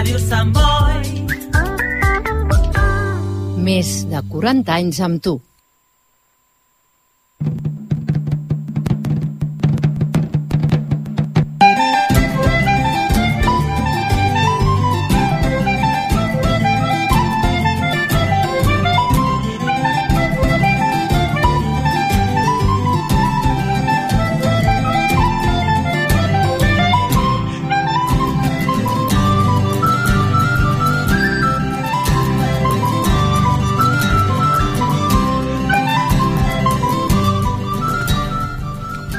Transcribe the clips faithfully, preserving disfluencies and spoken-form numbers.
Ràdio Sant Boi. Més de quaranta anys amb tu.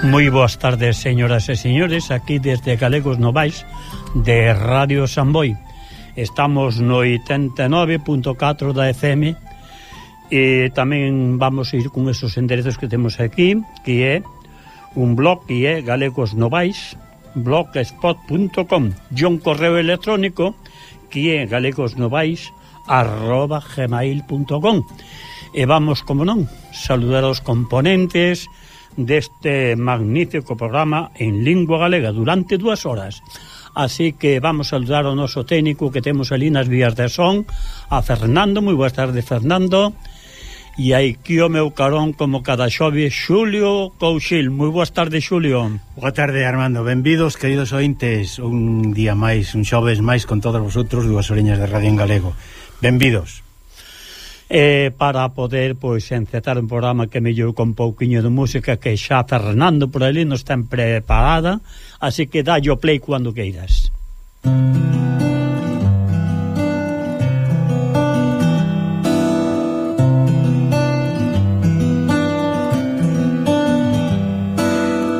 Moi boas tardes, señoras e señores, aquí desde Galegos Novais de Radio San Boi. Estamos no oitenta e nove punto catro da F M e tamén vamos a ir con esos enderezos que temos aquí, que é un blog que é Galegos Novais blogspot punto com e un correo electrónico que é galegosnovais arroba gmail punto com. E vamos, como non, saludar aos componentes deste magnífico programa en lingua galega durante dúas horas. Así que vamos a saludar ao noso técnico que temos ali nas vías de son, a Fernando. Moi boas tardes, Fernando. E aquí o meu carón, como cada xove, Xulio Couchil. Moi boas tardes, Xulio. Boa tarde, Armando. Benvidos, queridos ointes, un día máis, un xoves máis con todos vosotros, dúas oreñas de radio en galego. Benvidos. Eh, para poder, pois, encetar un programa que mellou con pouquiño de música, que xa Fernando por ali non está preparada, así que dalle o play cando queiras.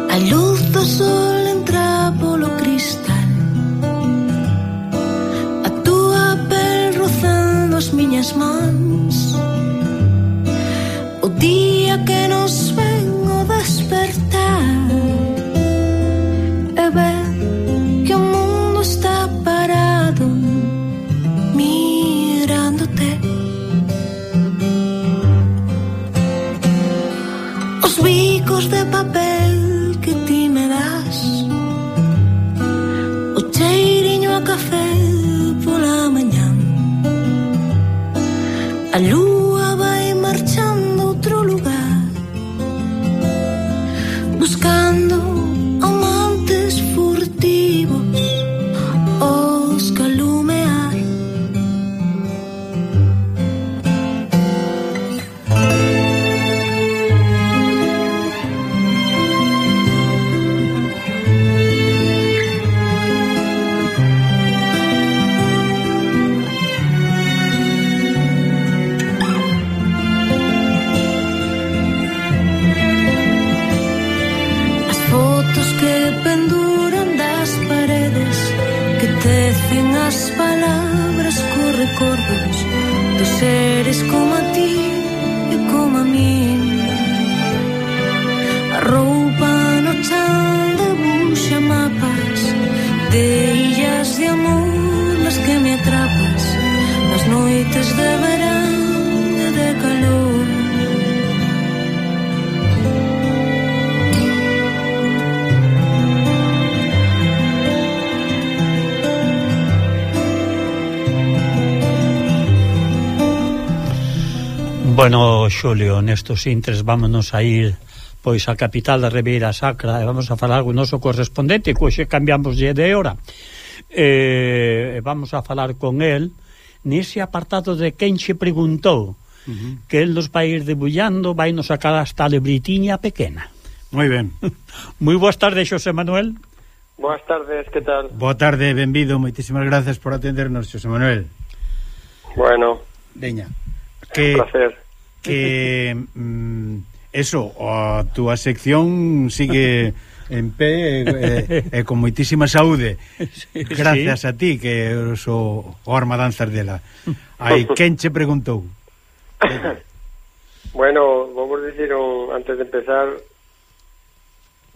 A luz do sol entra polo cristal, a túa pel rozando as miñas mans. O día que nos ven o despertar e ver que o mundo está parado mirándote. Os bicos de papel que ti me das, o cheiriño a café pola mañán, a lúa vai marchando a outro lugar, buscando amantes furtivos os calumear. As palabras co recordos dos seres como a ti e como a min. A roupa no chan debuxa mapas de illas de amor nas que me atrapas nas noites de verán e de calor. Bueno, Xulio, nestos intres vámonos a ir pois a capital da Ribeira Sacra e vamos a falar con o noso correspondente, que hoxe cambiamos de hora. E vamos a falar con el nese apartado de quen che preguntou, uh-huh. que el nos vai ir debullando, vai nos sacar hasta a libritiña pequena. Moi ben. Moi boas tardes, Xosé Manuel. Boas tardes, que tal? Boa tarde, benvido, moitísimas gracias por atendernos, Xosé Manuel. Bueno, veña. Que, un placer. Que mm, eso, a túa sección sigue en pé e, e con moitísima saúde. Sí, gracias sí. a ti, que eres o, o armadanzas dela. Aí, quen che preguntou? Bueno, vamos dicir un, antes de empezar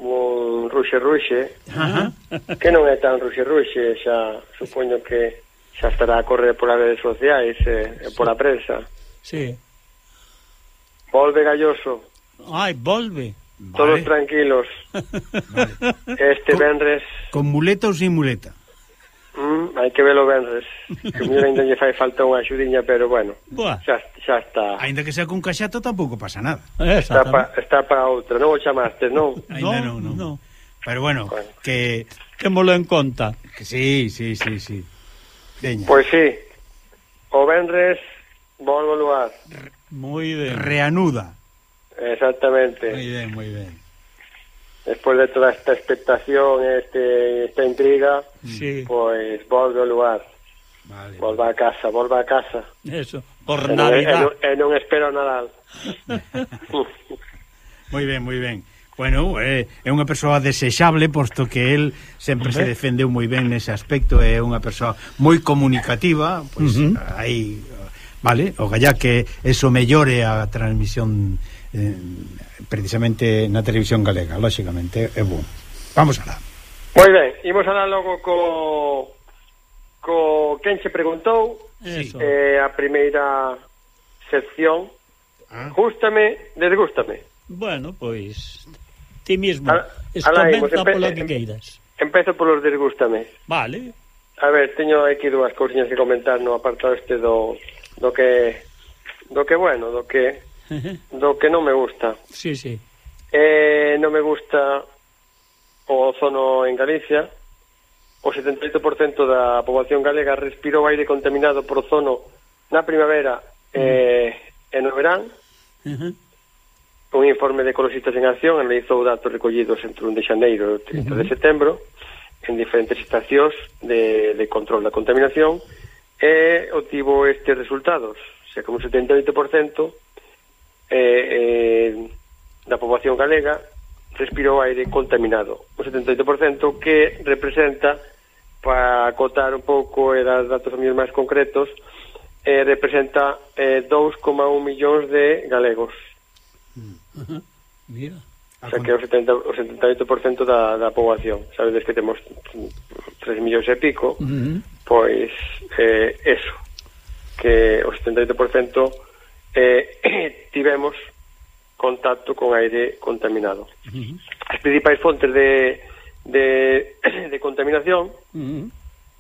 un ruxe ruxe, uh-huh. que non é tan ruxe ruxe, xa supoño que xa estará a correr polas redes sociais e, e pola prensa. Sí. Volve Galloso. Ai, volve. Todos vale. tranquilos. Vale. Este con, venres. Con muleta ou sin muleta? Mm, hai que velo venres. Que mellor ainda lle fai falta unha axudiña, pero bueno, Buah. xa, xa está. Ainda que sea con caxato tampouco pasa nada. Está pa, está para outra, non o chamaste, non? Ainda non, non. no. Pero bueno, Bueno. que, Témolo en conta. que sí, sí, sí, sí. Veña. Pois sí. O venres volvo ao lugar. Moi ben. Reanuda. Exactamente. Moi ben, moi ben. Despois de toda esta expectación, este, esta intriga, Sí, pois volve ao lugar. Vale. Volva a casa, volva a casa. eso. Por E non, e, Navidad. non, e non espero Nadal. Moi ben, moi ben. Bueno, é, é unha persoa desexable, posto que el sempre se defendeu moi ben nese aspecto, é unha persoa moi comunicativa, pois Uh-huh. aí, vale, o gallá que eso mellore a transmisión eh, precisamente na televisión galega, lóxicamente é bom. Vamos alá. Moi ben, imos alá logo co co quen che preguntou. Eso. Eh, a primeira sección. Ah. Gústame, desgústame. Bueno, pois ti mismo Ala- alá imos, comenta empe- polo que em- queiras. Empezo polos desgústame. Vale. A ver, teño aquí dúas cousiñas que comentar no apartado este do do que do que bueno, do que do que non me gusta. Sí, sí. Eh, non me gusta o ozono en Galicia. O setenta e oito por cento da poboación galega respirou aire contaminado por ozono na primavera eh, e no verán. Uh-huh. Un informe de Ecologistas en Acción analizou datos recollidos entre o un de xaneiro e o trinta de setembro en diferentes estacións de, de control da contaminación e obtivo estes resultados. O sea, como un setenta e oito por cento eh, eh, da poboación galega respirou aire contaminado. Un setenta e oito por cento que representa, para acotar un pouco e dar datos mellor máis concretos, eh, representa eh, dous coma un millóns de galegos. Uh-huh. Mira. O sea, que é o, setenta, o setenta e oito por cento da, da poboación. Sabedes que temos tres millóns e pico, Uh-huh. pois eh, eso, que o setenta e oito por cento eh, tivemos contacto con aire contaminado. Uh-huh. As principais fontes de, de, de contaminación, Uh-huh.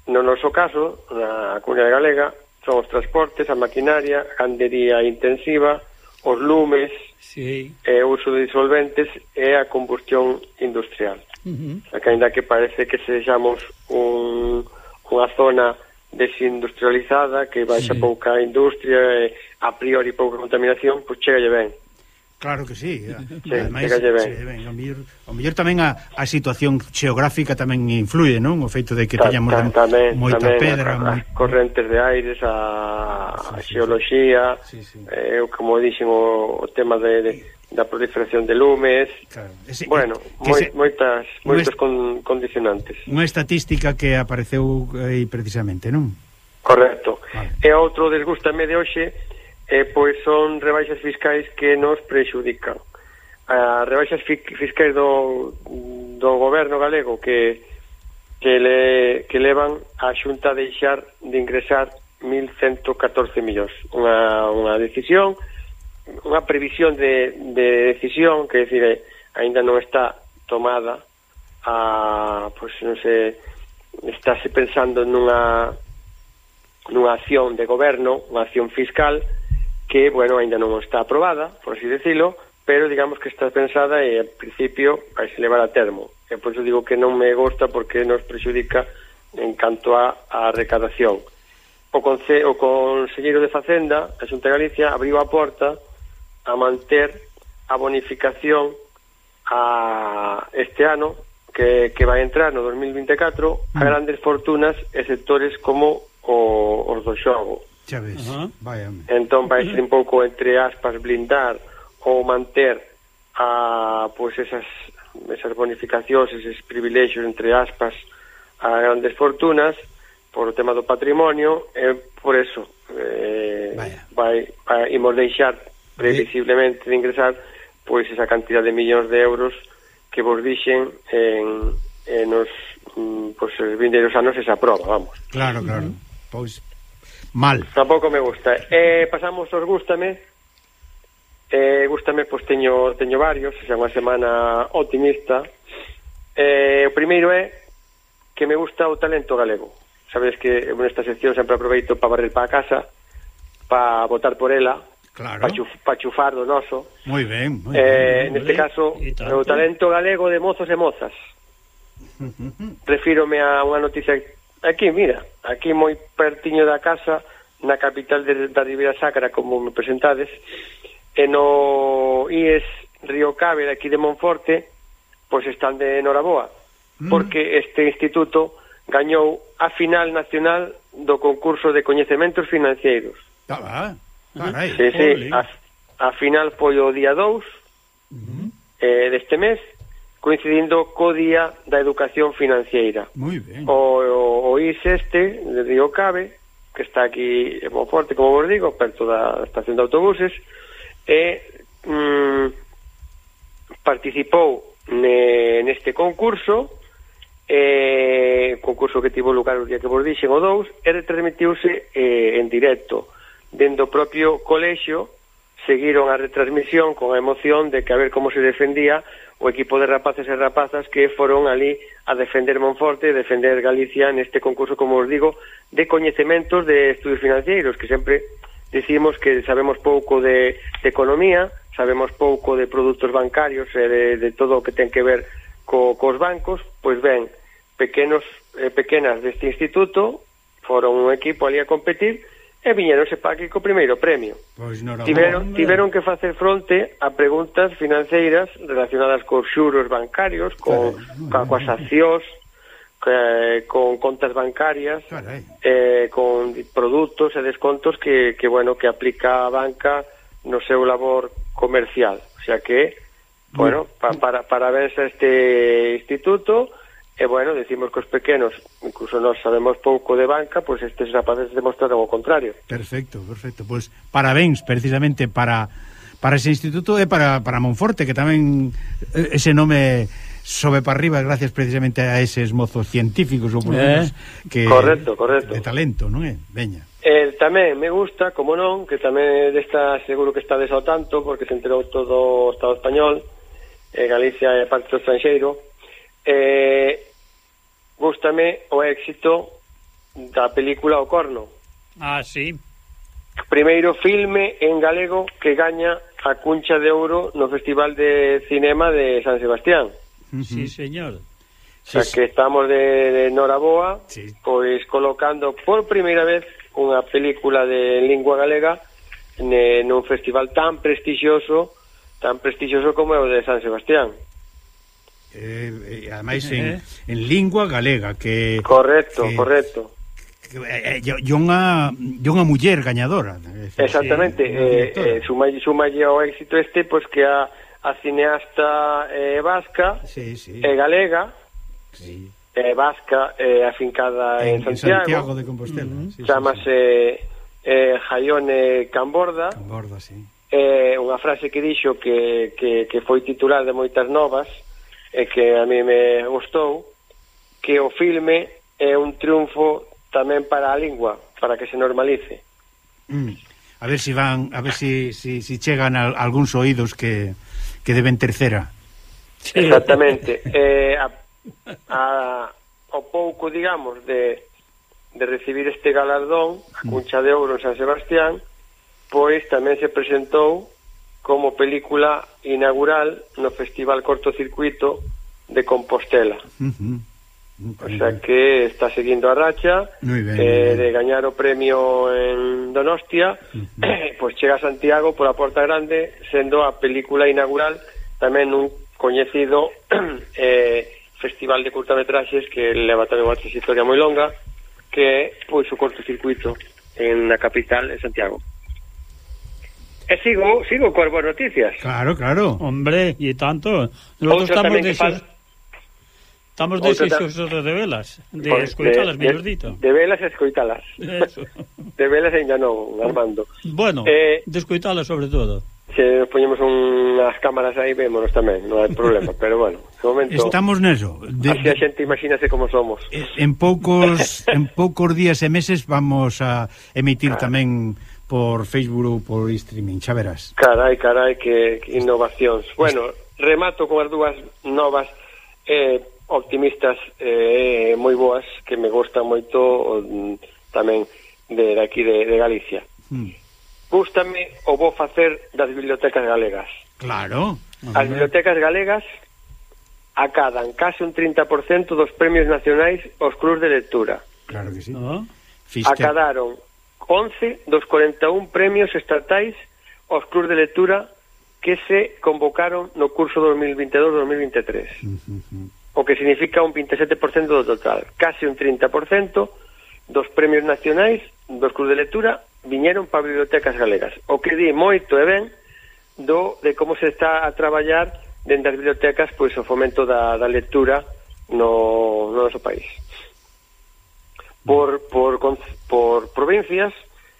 no noso caso, na comunidade galega, son os transportes, a maquinaria, a gandería intensiva, os lumes, Sí. e o uso de disolventes e a combustión industrial. Uh-huh. O sea, que ainda que parece que sexamos un, unha zona desindustrializada, que baixa Sí. pouca industria e a priori pouca contaminación, pois chegalle ben. Claro que sí. Sí, Ademais, chegalle ben. sí, ben, o mellor, o mellor tamén a, a situación xeográfica tamén influye, non? O feito de que Ta- teñamos ta- tamén, moita tamén pedra, a, moi... as correntes de aires, a, a Sí, sí, xeoloxía, sí, sí. eh, como dixen o, o tema de, de, da proliferación de lumes, Claro, ese, bueno, que moi, se- moitas, non moitos es- con, condicionantes. unha estatística que apareceu aí precisamente, non? Correcto. Vale. E outro desgústame de hoxe, eh, pois son rebaixas fiscais que nos prexudican. As rebaixas fi- fiscais do, do goberno galego que que le que levan a Xunta a deixar de ingresar mil ciento catorce millóns. Unha, unha decisión, unha previsión de, de decisión, que decir, eh, aínda non está tomada, a, pois non sei, estáse pensando nunha nunha acción de goberno, unha acción fiscal que, bueno, aínda non está aprobada, por así decirlo, pero digamos que está pensada e, en principio, vai se levar a termo. E por iso digo que non me gusta porque nos prexudica en canto a, a recadación. O, conce, o Conselleiro de Facenda, a Xunta de Galicia, abriu a porta a manter a bonificación a este ano que, que vai entrar no dos mil vinte e catro a grandes fortunas e sectores como o, os do xogo. Xa ves, Ajá. vaya. Entón vai ser un pouco, entre aspas, blindar ou manter a, pois esas, esas bonificacións, eses privilexios, entre aspas, a grandes fortunas por o tema do patrimonio, e por eso eh, vai, vai imos deixar previsiblemente de ingresar pois esa cantidad de millóns de euros que vos dixen en, en nos pois, os vindeiros anos se aproba, vamos. Claro, claro. Pois mal. Tampouco me gusta. Eh, pasamos aos gústame. Eh, gústame, pois teño teño varios, xa unha semana optimista. Eh, o primeiro é que me gusta o talento galego. O sabes que nesta sección sempre aproveito para barrer para a casa, para votar por ela, claro, para chuf, pa chufar do noso. Moi ben, moi eh, ben. Neste caso, o talento galego de mozos e mozas. Refírome a unha noticia aquí, mira, aquí moi pertiño da casa, na capital de, da Ribeira Sacra, como me presentades, e no I E S Río Cave, de aquí de Monforte, pois están de enhoraboa, mm. porque este instituto gañou a final nacional do concurso de coñecementos financeiros. Ah, va, carai. Sí, sí, a, a final foi o día dous uh-huh. eh, deste mes, coincidindo co día da educación financiera. Moi ben. O, o, o I E S este, de Río Cave, que está aquí en Monforte, como vos digo, perto da estación de autobuses, e mm, participou ne, neste concurso, eh, concurso que tivo lugar o día que vos dixen, o dous, e retransmitiuse eh, en directo. Dentro do propio colexio, seguiron a retransmisión con a emoción de que a ver como se defendía o equipo de rapaces e rapazas que foron ali a defender Monforte, defender Galicia neste concurso, como os digo, de coñecementos de estudios financeiros, que sempre decimos que sabemos pouco de, de economía, sabemos pouco de produtos bancarios e de, de todo o que ten que ver co, cos bancos. Pois ben, pequenos eh, pequenas deste instituto foron un equipo ali a competir e viñeronse para aquí co primeiro premio. Pois tiveron, tiveron que facer fronte a preguntas financeiras relacionadas cos xuros bancarios, con, ca, coas accións, que, con contas bancarias, eh, con produtos e descontos que, que, bueno, que aplica a banca no seu labor comercial. O sea que, bueno, pa, para, parabéns a este instituto. E, bueno, decimos que os pequenos, incluso nós sabemos pouco de banca, pois estes rapaces demostraron o contrario. Perfecto, perfecto. Pois parabéns, precisamente, para para ese instituto e para, para Monforte, que tamén ese nome sobe para arriba gracias precisamente a eses mozos científicos ou por menos eh? que correcto, correcto. De talento, non é? Veña. Eh, tamén me gusta, como non, que tamén desta seguro que estades ao tanto, porque se enterou todo o Estado español, eh, Galicia é parte do estranxeiro. Eh, gústame o éxito da película O Corno. Ah, sí. Primeiro filme en galego que gaña a Cuncha de Ouro no Festival de Cinema de San Sebastián. Sí, señor. O sea, sí, que estamos de, de Noraboa, sí, pois colocando por primeira vez unha película de lingua galega ne, nun festival tan prestixioso, tan prestixioso como é o de San Sebastián. Eh, eh, ademais en, eh. en lingua galega que correcto, que, correcto que, eh, e unha unha muller gañadora. Exactamente, sí, eh, eh, sumalle, sumalle ao éxito este, pois que a, a cineasta eh, vasca sí, sí. e eh, galega sí. eh, vasca eh, afincada en, en Santiago, Santiago de Compostela, uh-huh. sí, chamase sí, sí. eh, Jaione Camborda. Camborda, sí. Eh, unha frase que dixo que, que, que foi titular de moitas novas e que a mí me gustou, que o filme é un triunfo tamén para a lingua, para que se normalice. Mm. A ver si van, a ver si, si, si chegan a, a algúns oídos que, que deben tercera. Exactamente. eh, a, a, o pouco, digamos, de, de recibir este galardón, a Cuncha de Ouro en San Sebastián, pois tamén se presentou como película inaugural no Festival Cortocircuito de Compostela. Uh-huh. O sea que está seguindo a racha ben, eh, de gañar o premio en Donostia, uh-huh. eh, pois chega a Santiago pola Porta Grande, sendo a película inaugural tamén un coñecido eh, festival de curtametraxes que leva tamén unha trayectoria moi longa, que é pois o Cortocircuito en na capital, en Santiago. E sigo, sigo coas boas noticias. Claro, claro. Hombre, e tanto. Nosotros estamos de esos, estamos de esos de velas, de pues, escoitalas, mellor dito. De velas e escoitalas. Eso. De velas ainda non, Armando. Bueno, eh, de escoitalas sobre todo. Se nos poñemos unhas cámaras aí, vémonos tamén, non hai problema, pero bueno, de momento estamos neso. De, así a xente imagínase como somos. En poucos en poucos días e meses vamos a emitir ah. tamén por Facebook ou por streaming, xa verás. Carai, carai, que, que innovacións. Bueno, remato con as dúas novas. Eh, optimistas eh, moi boas que me gustan moito tamén de, de aquí de, de Galicia. Mm. Gústame o vou facer das bibliotecas galegas. Claro. As bibliotecas galegas acadan case un trinta por cento dos premios nacionais aos clubs de lectura. Claro que sí. Uh-huh. Acadaron once dos cuarenta e un premios estatais aos clubs de lectura que se convocaron no curso dos mil veintidós dos mil veintitrés. Uh-huh. O que significa un veintisiete por cento do total. Case un trinta por cento dos premios nacionais dos clubs de lectura viñeron para bibliotecas galegas. O que di moito e ben do de como se está a traballar dentro das bibliotecas pois o fomento da, da lectura no, no noso país. Por, por, por provincias,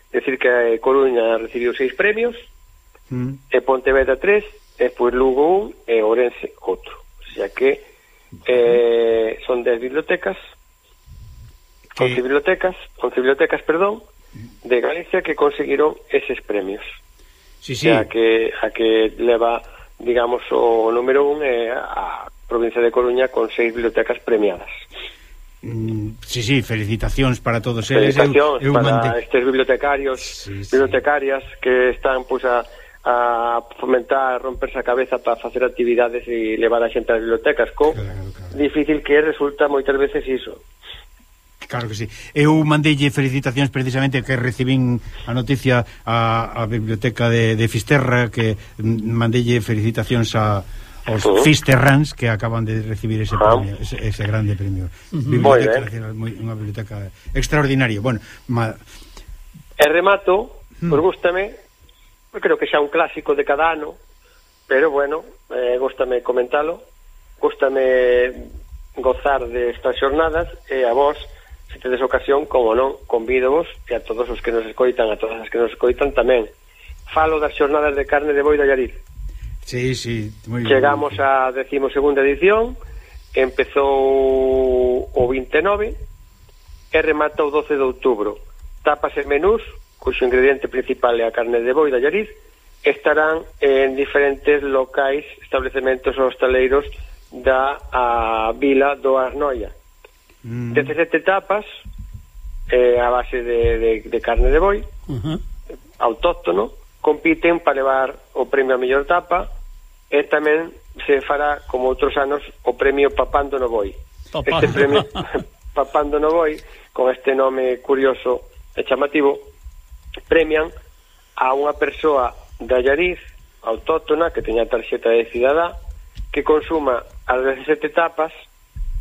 decir que Coruña recibiu seis premios, mm. e Pontevedra tres, e pois Lugo un, e Ourense outro. O sea que eh, son dez bibliotecas, once bibliotecas, once bibliotecas, perdón, de Galicia que conseguiron eses premios. Sí, sí. O sea que a que leva, digamos, o número un é a provincia de Coruña con seis bibliotecas premiadas. Mm, sí, sí, felicitacións para todos eles. Felicitacións eu, eu para mante... estes bibliotecarios, sí, sí. bibliotecarias que están, pois, a, a fomentar, romperse a cabeza para facer actividades e levar a xente ás bibliotecas, co claro, claro. difícil que resulta moitas veces iso. Claro que sí. Eu mandeille felicitacións precisamente que recibín a noticia a, a biblioteca de, de Fisterra, que mandeille felicitacións a aos uh -huh. Fisterrans que acaban de recibir ese uh -huh. premio, ese, ese grande premio. Uh -huh. Biblioteca Nacional, moi, unha biblioteca extraordinaria. Bueno, ma... E remato, uh -huh. pues gústame, eu creo que xa un clásico de cada ano, pero bueno, eh, gústame comentalo, gústame gozar de estas xornadas, e a vos, se tedes ocasión, como non, convídovos, e a todos os que nos escoitan, a todas as que nos escoitan tamén. Falo das xornadas de carne de boi de Allariz. Sí, sí, moi Chegamos á decimosegunda edición, empezou o vinte e nove e remata o doce de outubro. Tapas e menús, cuxo ingrediente principal é a carne de boi de Allariz, estarán en diferentes locais, establecementos hostaleiros da a vila do Arnoia. Mm. dezasete tapas eh, a base de, de, de carne de boi, uh -huh. autóctono, compiten para levar o premio a mellor tapa, e tamén se fará, como outros anos, o premio Papando no Boi. Papando. Este premio Papando no Boi, con este nome curioso e chamativo, premian a unha persoa de Allariz autóctona que teña tarxeta de cidadá que consuma as dezasete tapas.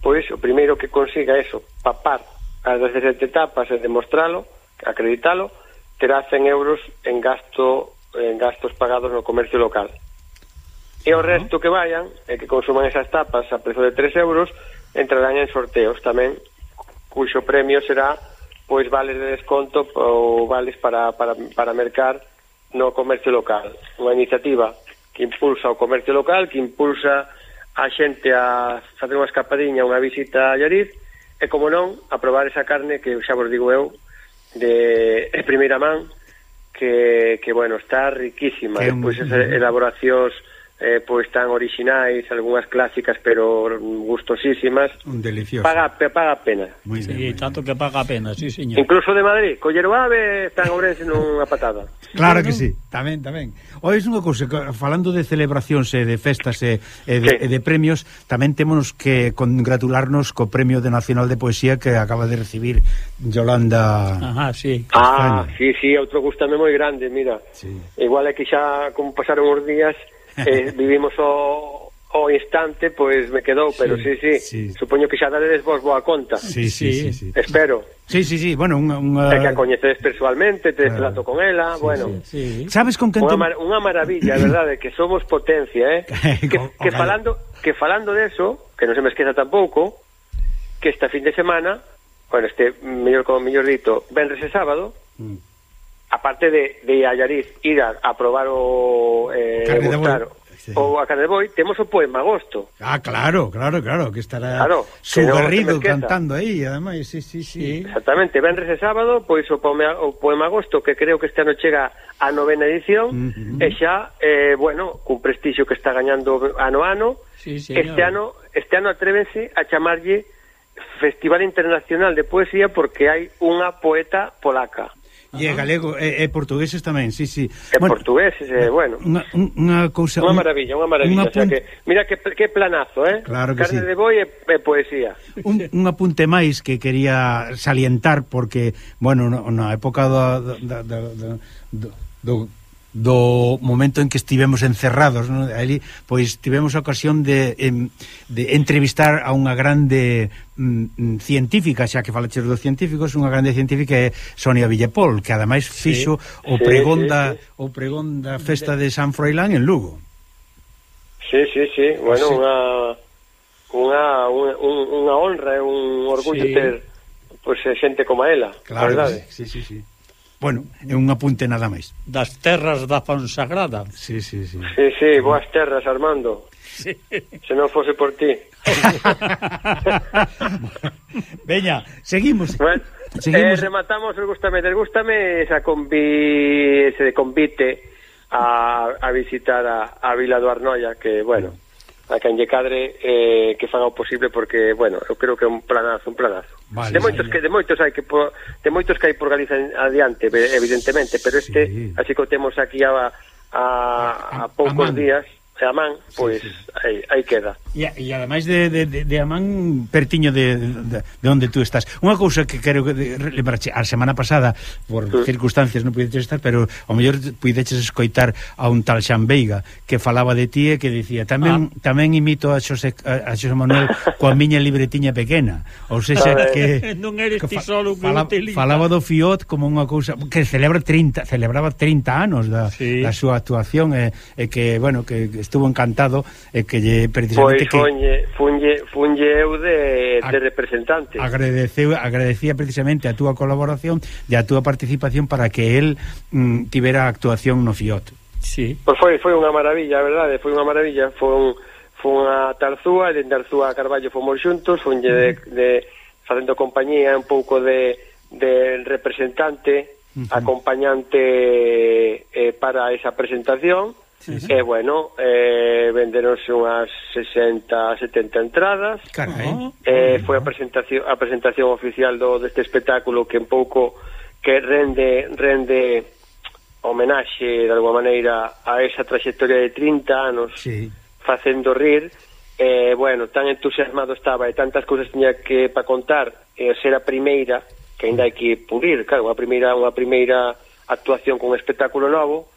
Pois o primeiro que consiga eso, papar as dezasete tapas e demostralo, acreditalo, terá cen euros en gasto en gastos pagados no comercio local. E o resto que vayan e que consuman esas tapas a prezo de tres euros entrarán en sorteos tamén, cuxo premio será pois vales de desconto ou vales para, para, para mercar no comercio local. Unha iniciativa que impulsa o comercio local, que impulsa a xente a facer unha escapadiña, unha visita a Allariz, e como non, a probar esa carne que xa vos digo eu de, de primeira man que, que bueno, está riquísima. Despois esas elaboracións eh, pois tan orixinais, algunhas clásicas pero gustosísimas. Un delicioso. Paga, paga a pena. Muy bien, sí, muy tanto bien. Que paga a pena, sí, señor. Incluso de Madrid, coller o ave están Ourense nunha patada. Claro que sí, tamén, tamén. Ois unha cousa, falando de celebracións e de festas e, e, de, sí. e de premios, tamén temos que congratularnos co Premio de Nacional de Poesía que acaba de recibir Yolanda. Ajá, sí. Ah, sí, sí, outro gustame moi grande, mira. Sí. Igual é que xa como pasaron os días eh, vivimos o, o instante, pois me quedou, pero sí, sí, sí, sí. Supoño que xa daredes vos boa conta. Sí, sí, sí, sí. Espero. Sí, sí, sí, bueno, unha... unha... É que a coñecedes persoalmente, te claro. Trato con ela, sí, bueno. Sí, sí. Sabes con que... Unha, mar unha maravilla, é verdade, que somos potencia, eh? que, que, falando, que falando de eso, que non se me esqueza tampouco, que esta fin de semana, bueno, este, mellor como mellor dito, venres e sábado, mm. aparte de, de Allariz ir a, a probar o eh, gustar, sí. o a carne de boi, temos o Poema Agosto. Ah, claro, claro, claro, que estará claro, su que Garrido no cantando aí, ademais, sí, sí, sí. Exactamente, venres e sábado, pois o Poema, o Poema Agosto, que creo que este ano chega a novena edición, uh -huh. e xa, eh, bueno, cun prestixio que está gañando ano a ano, sí, este ano este ano atrévense a chamarlle Festival Internacional de Poesía porque hai unha poeta polaca. E é galego, e, e portugueses tamén, sí, sí. E bueno, portugueses, eh, bueno. Unha, unha cousa... Unha maravilla, unha maravilla. Unha o sea que, mira que, que planazo, eh? Claro que Carne sí. de boi e, e poesía. Un, un apunte máis que quería salientar porque, bueno, no, na época do, do, do, do, do, do momento en que estivemos encerrados, ¿no? Ali, pois tivemos a ocasión de, de entrevistar a unha grande mm, científica, xa que falaches dos científicos, unha grande científica é Sonia Villepol, que ademais fixo sí, o pregón sí, da sí, sí. o pregón da festa de San Froilán en Lugo. Sí, sí, sí, bueno, sí. unha unha un, unha honra e un orgullo sí. ter pois pues, xente como ela, claro, a verdade. Sí, sí, sí. Bueno, é un apunte nada máis. Das terras da Fonsagrada. Sí, sí, sí. Sí, sí, boas terras, Armando. Sí. Se non fose por ti. Veña, seguimos. Bueno, seguimos. Eh, rematamos, gústame, gústame esa convi, ese convite a, a visitar a, a Vila do Arnoia, que, bueno, a quen lle cadre eh, que faga o posible porque, bueno, eu creo que é un planazo, un planazo. Vale, de moitos vale. que de moitos hai que por, de moitos que hai por Galiza adiante, evidentemente, pero este, sí. así que o temos aquí a a, a, a poucos a días, a man, pois sí, sí. aí, aí queda. E, e ademais de, de, de, de Amán, pertiño de, de, de onde tú estás. Unha cousa que quero lembrarche, a semana pasada, por sí. circunstancias non puideches estar, pero ao mellor puideches escoitar a un tal Xan Veiga que falaba de ti e que dicía tamén ah. tamén imito a Xosé, a Xosé Manuel coa miña libretiña pequena. Ou seja, que non eres ti solo que fala, falaba do Fiot como unha cousa que celebra trinta, celebraba trinta anos da, sí. da súa actuación e, e que, bueno, que estuvo encantado e que lle precisamente pois funlle, funlle, funlle eu de, de representante. Agradeceu, agradecía precisamente a túa colaboración e a túa participación para que el mm, tivera actuación no Fiot. Sí. Pois foi, foi unha maravilla, a verdade, foi unha maravilla, foi un, foi unha Tarzúa, e dende Tarzúa a Carballo fomos xuntos, funlle de, de facendo compañía un pouco de, de representante, uh-huh. acompañante eh, para esa presentación. Sí, sí. E, bueno, eh, venderonse unhas sesenta, setenta entradas. Carai. Eh, foi a presentación a presentación oficial do deste espectáculo que un pouco que rende rende homenaxe de alguma maneira a esa trayectoria de trinta anos sí. facendo rir. Eh, bueno, tan entusiasmado estaba e tantas cousas tiña que para contar, e eh, ser a primeira que ainda hai que pulir, claro, unha primeira unha primeira actuación con un espectáculo novo.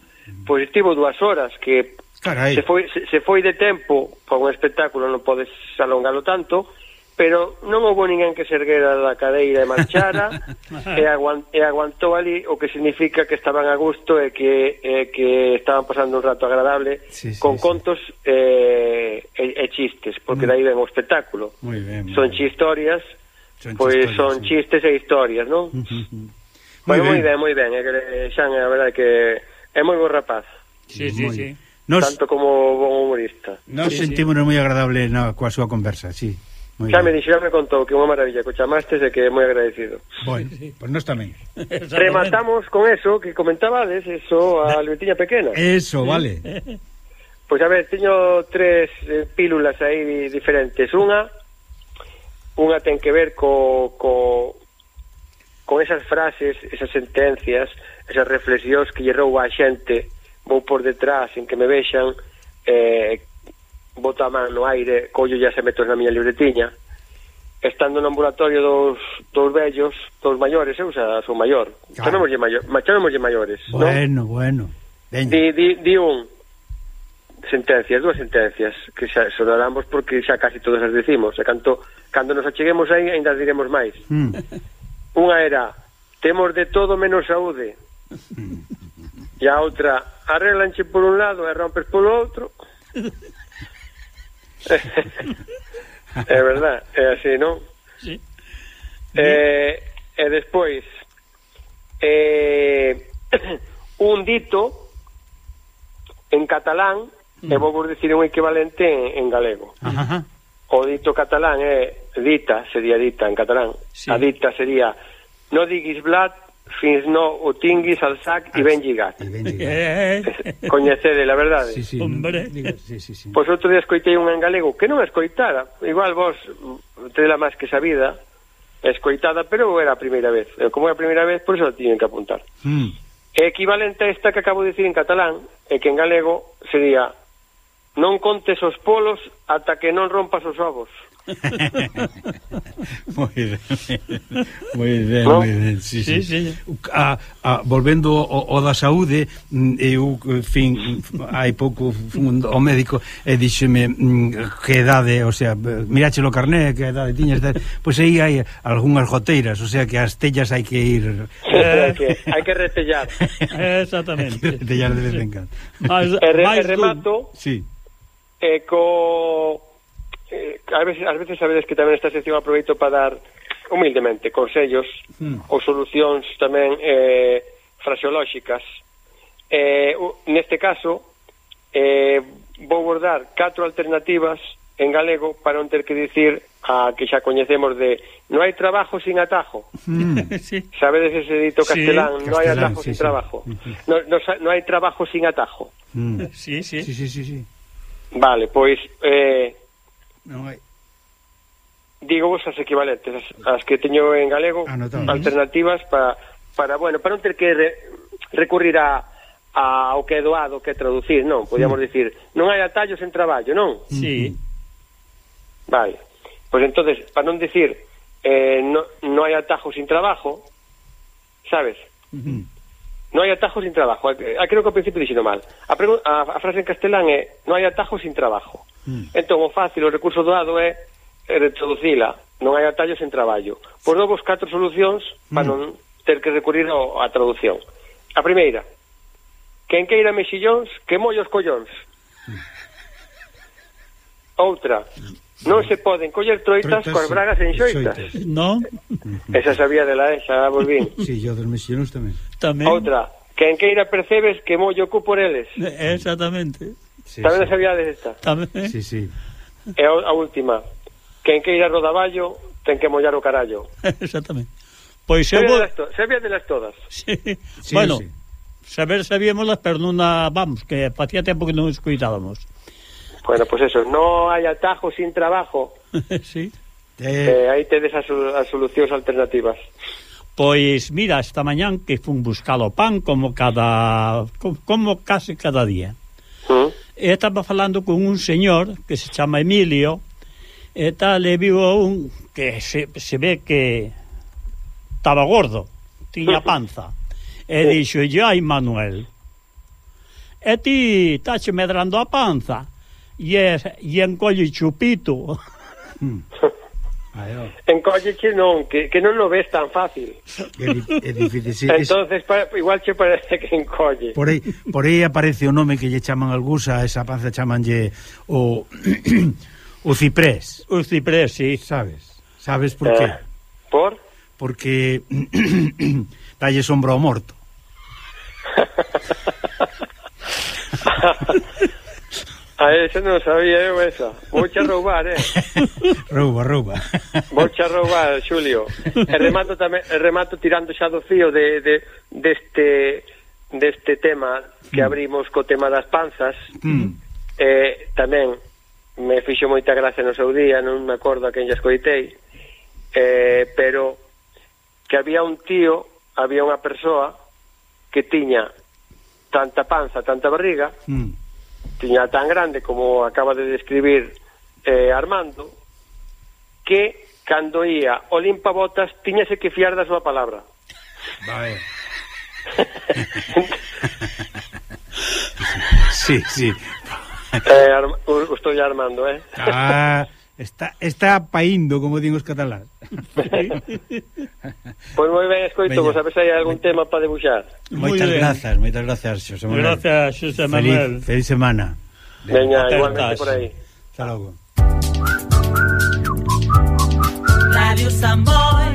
Pois estivo dúas horas que Carai. se foi se, se foi de tempo para un espectáculo non podes alongalo tanto, pero non houve ninguén que se erguera da cadeira e marchara e, aguant, e aguantou ali, o que significa que estaban a gusto e que, e que estaban pasando un rato agradable sí, sí, con sí. contos e, e, e chistes, porque mm. dai ven o espectáculo. Muy bien, muy son bien. chistorias, son pois pues son sí. chistes e historias, non? Bueno, moi ben, moi ben, é que Xan, a verdade que é moi bo rapaz. Sí, sí, sí. Nos, tanto como bon humorista. Nos sí, sentimos sí. moi agradable na, coa súa conversa, sí. Xa me dixo, xa me contou que unha maravilla, que chamastes e que é moi agradecido. Bueno, sí. Pois pues nos tamén. Rematamos con eso que comentabades, eso, a libretiña pequena. Eso, vale. Pois pues, a ver, teño tres eh, pílulas aí diferentes. Unha, unha ten que ver co, co con esas frases, esas sentencias, esas reflexións que lle rouba a xente, vou por detrás en que me vexan, eh, boto a man no aire, collo ya se meto na miña libretiña, estando no ambulatorio dos, dos vellos, dos maiores, eu xa son maior, claro. chamémoslle maior, chamémoslle maiores, bueno, ¿no? bueno, di, di, di un sentencias, dúas sentencias que xa sonaramos porque xa casi todas as decimos, e canto, cando nos acheguemos aí ainda diremos máis. mm. Unha era, temos de todo menos saúde. E a outra, arreglanche por un lado e rompes polo outro. É verdad, é así, non? Sí. Eh, e despois, eh, un dito en catalán, mm. e vou vos dicir un equivalente en, en galego. Ajá. O dito catalán é dita, sería dita en catalán. Sí. A dita sería no diguis blat fins no o tinguis al sac e ben lligat. Coñecede, la verdade. Sí, sí, hombre. Diga, sí, sí, sí. Pois outro día escoitei un en galego que non escoitara, igual vos tela máis que sabida, escoitada, pero era a primeira vez. E como era a primeira vez, por iso lo tiñen que apuntar. Mm. É equivalente a esta que acabo de dicir en catalán, e que en galego sería: non contes os polos ata que non rompas os ovos. Moi ben, moi ben, ¿No? moi ben, sí, sí. Sí, sí. A, a, volvendo ao, ao da saúde, eu, en fin, hai pouco fun ao médico e díxeme que edade, o sea, miráchelo o carné, que edade tiñas, pois aí hai algunhas goteiras, o sea que as tellas hai que ir... hai que, hai que retellar. Exactamente. Hai que retellar de vez en cando. Mas, E, re, máis e remato Sí. eh, co... Eh, a veces, a veces sabedes que tamén esta sección aproveito para dar humildemente consellos mm. ou solucións tamén eh, fraseolóxicas. Eh, neste caso eh, vou dar catro alternativas en galego para non ter que dicir a que xa coñecemos de non hai trabajo sin atajo. Mm. Sí. Sabedes ese dito castelán, Sí, non hai castelán, atajo sí, sin sí. trabajo. Non no, no hai trabajo sin atajo. Mm. Sí, sí. Sí, sí, sí, sí. Vale, pois eh, Non hai... digo vos as equivalentes, as, as que teño en galego, Anotamos. alternativas para, para, bueno, para non ter que re, recurrir a, a ao que é doado, que é traducir, non? Podíamos Mm. dicir, non hai atallos en traballo, non? Sí. Vale. Pois entonces, para non dicir eh, no, non hai atajo sin trabajo, sabes? Mm. Non hai atajo sin trabajo. Eh, creo que ao principio dixino mal. A, a, a frase en castelán é non hai atajo sin trabajo. Mm. Entón, o fácil, o recurso doado é retraducila, non hai atallos en traballo. Por novos catro solucións para mm. non ter que recurrir ao, a traducción. A primeira: quen queira mexillóns, que mollos collóns. Mm. Outra: non se poden coller troitas coas bragas en xoitas. Non? Esa sabía de la esa, volvín. Sí, yo dos mexillóns tamén. Tamén. Outra: quen queira percebes, que mollo cu por eles. Exactamente. Sí, Tamén sí. sabía de esta. Tamén. Sí, sí. E a, a última: quen queira rodaballo, ten que mollar o carallo. Exactamente. Pois eu Sabía vou... de las to- sabía de las todas. Sí. Sí, Bueno, sí. saber sabíamolas, pero non a... Vamos, que facía tempo que non escoitábamos. Bueno, pues eso, no hai atajo sin trabajo. Sí. Eh, Eh, aí tedes as, sol- as solucións alternativas. Pois mira, esta mañán que fun buscar o pan como cada... como, como casi cada día. ¿Mm? E estaba falando con un señor que se chama Emilio, e tal, e viu un que se, se ve que estaba gordo, tiña panza, e dixo, ai Manuel, e ti tache medrando a panza, e, e encolle chupito. Encólleche non, que, que non lo ves tan fácil. é, di- é difícil, sí, es- Entonces, pa, igual che parece que encolle. Por aí, por aí aparece o nome que lle chaman algúns a esa panza, chamanlle o o ciprés, O ciprés, sí. sabes? Sabes por qué? Eh, por? Porque dalle sombra ao morto. A esa non sabía eu esa. Vouche a roubar, eh. Rouba, rouba. Vouche a roubar, Xulio. E remato tamén, e remato tirando xa do fío de, de deste deste tema que abrimos co tema das panzas. Mm. Eh, tamén me fixo moita gracia no seu día, non me acordo a quen lle escoitei. Eh, pero que había un tío, había unha persoa que tiña tanta panza, tanta barriga, Mm. tiña tan grande como acaba de describir eh, Armando, que cando ia o limpabotas tiñase que fiar da súa palabra. Vale. Sí, sí. eh, Arma, estou Armando, eh? Ah, está está paíndo, como din os catalán. Pois moi ben, escoito, vos a ver se hai algún tema para debuxar. Muy Moitas ben. grazas, moitas grazas, Xosé Manuel. Gracias, Xosé Manuel. Feliz, feliz semana. Veña, Apertas. igualmente por aí. Hasta logo. Radio Samboy.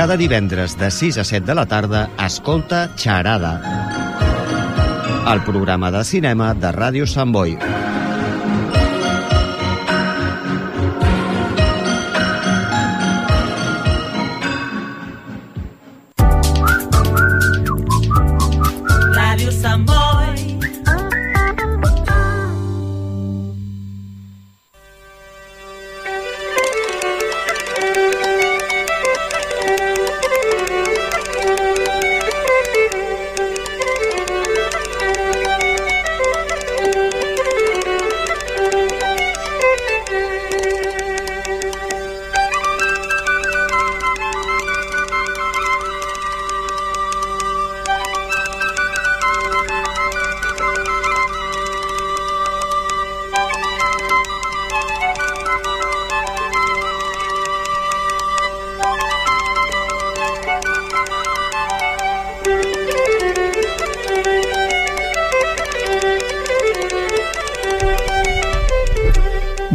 Cada divendres de sis a set de la tarda, escolta Xarada, el programa de cinema de Ràdio Sant Boi. Ràdio Sant Boi.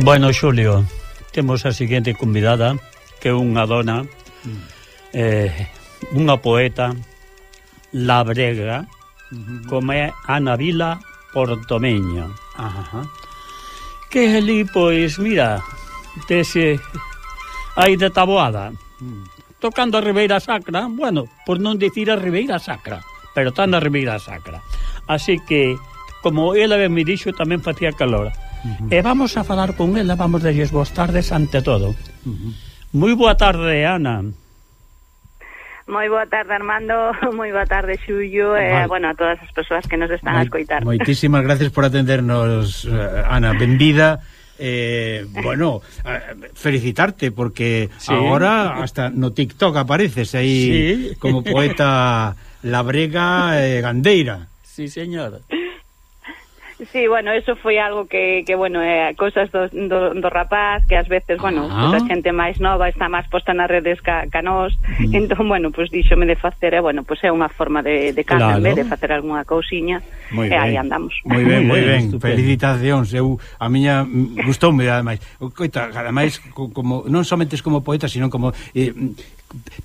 Bueno, Xulio, temos a seguinte convidada, que é unha dona, eh, unha poeta labrega, como é Ana Vila Portomeño. Ajá. Que é ali, pois, mira, dese aí de Taboada, tocando a Ribeira Sacra, bueno, por non dicir a Ribeira Sacra, pero está na Ribeira Sacra. Así que, como ela me dixo, tamén facía calor. Uh-huh. E vamos a falar con ela, vamos a lles boas tardes ante todo. Uh-huh. Moi boa tarde, Ana. Moi boa tarde, Armando, moi boa tarde, Xulio, e, eh, bueno, a todas as persoas que nos están Moi, a escoitar. Moitísimas gracias por atendernos, Ana, benvida. Eh, bueno, felicitarte porque sí. Agora hasta no TikTok apareces aí sí. Como poeta labrega e eh, gandeira. Sí, señor. Sí, bueno, eso foi algo que, que bueno, é eh, cousas do, do, do rapaz, que ás veces, bueno, ah. pues a xente máis nova está máis posta nas redes ca, ca nós, mm. entón, bueno, pues díxome de facer, e, bueno, pues é unha forma de, de claro. De facer algunha cousiña, e aí andamos. Moi ben, moi ben, felicitacións, eu, a miña, gustoume, ademais, coita, ademais, como, non somente como poeta, sino como... Eh,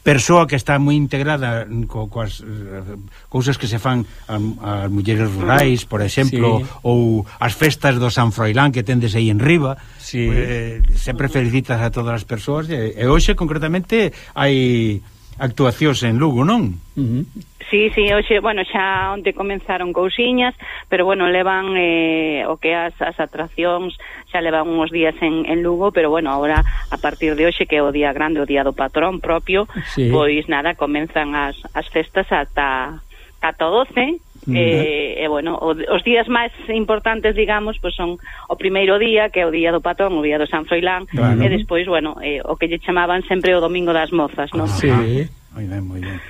persoa que está moi integrada co, coas uh, cousas que se fan as mulleres rurais, por exemplo, sí. Ou as festas do San Froilán que tendes aí en riba, sí. eh, sempre felicitas a todas as persoas e, e hoxe concretamente hai actuacións en Lugo, non? Uh-huh. Sí, sí, hoxe, bueno, xa onte comenzaron cousiñas, pero bueno, levan eh, o que as, as atraccións xa levan uns días en, en Lugo, pero bueno, agora a partir de hoxe, que é o día grande, o día do patrón propio, sí. Pois nada, comenzan as, as festas ata ata doce, uh-huh. e, e bueno, o, os días máis importantes, digamos, pois son o primeiro día, que é o día do patrón, o día do San Froilán, claro. E despois, bueno, eh, o que lle chamaban sempre o domingo das mozas, non? Ah, sí. Moi ben, moi ben.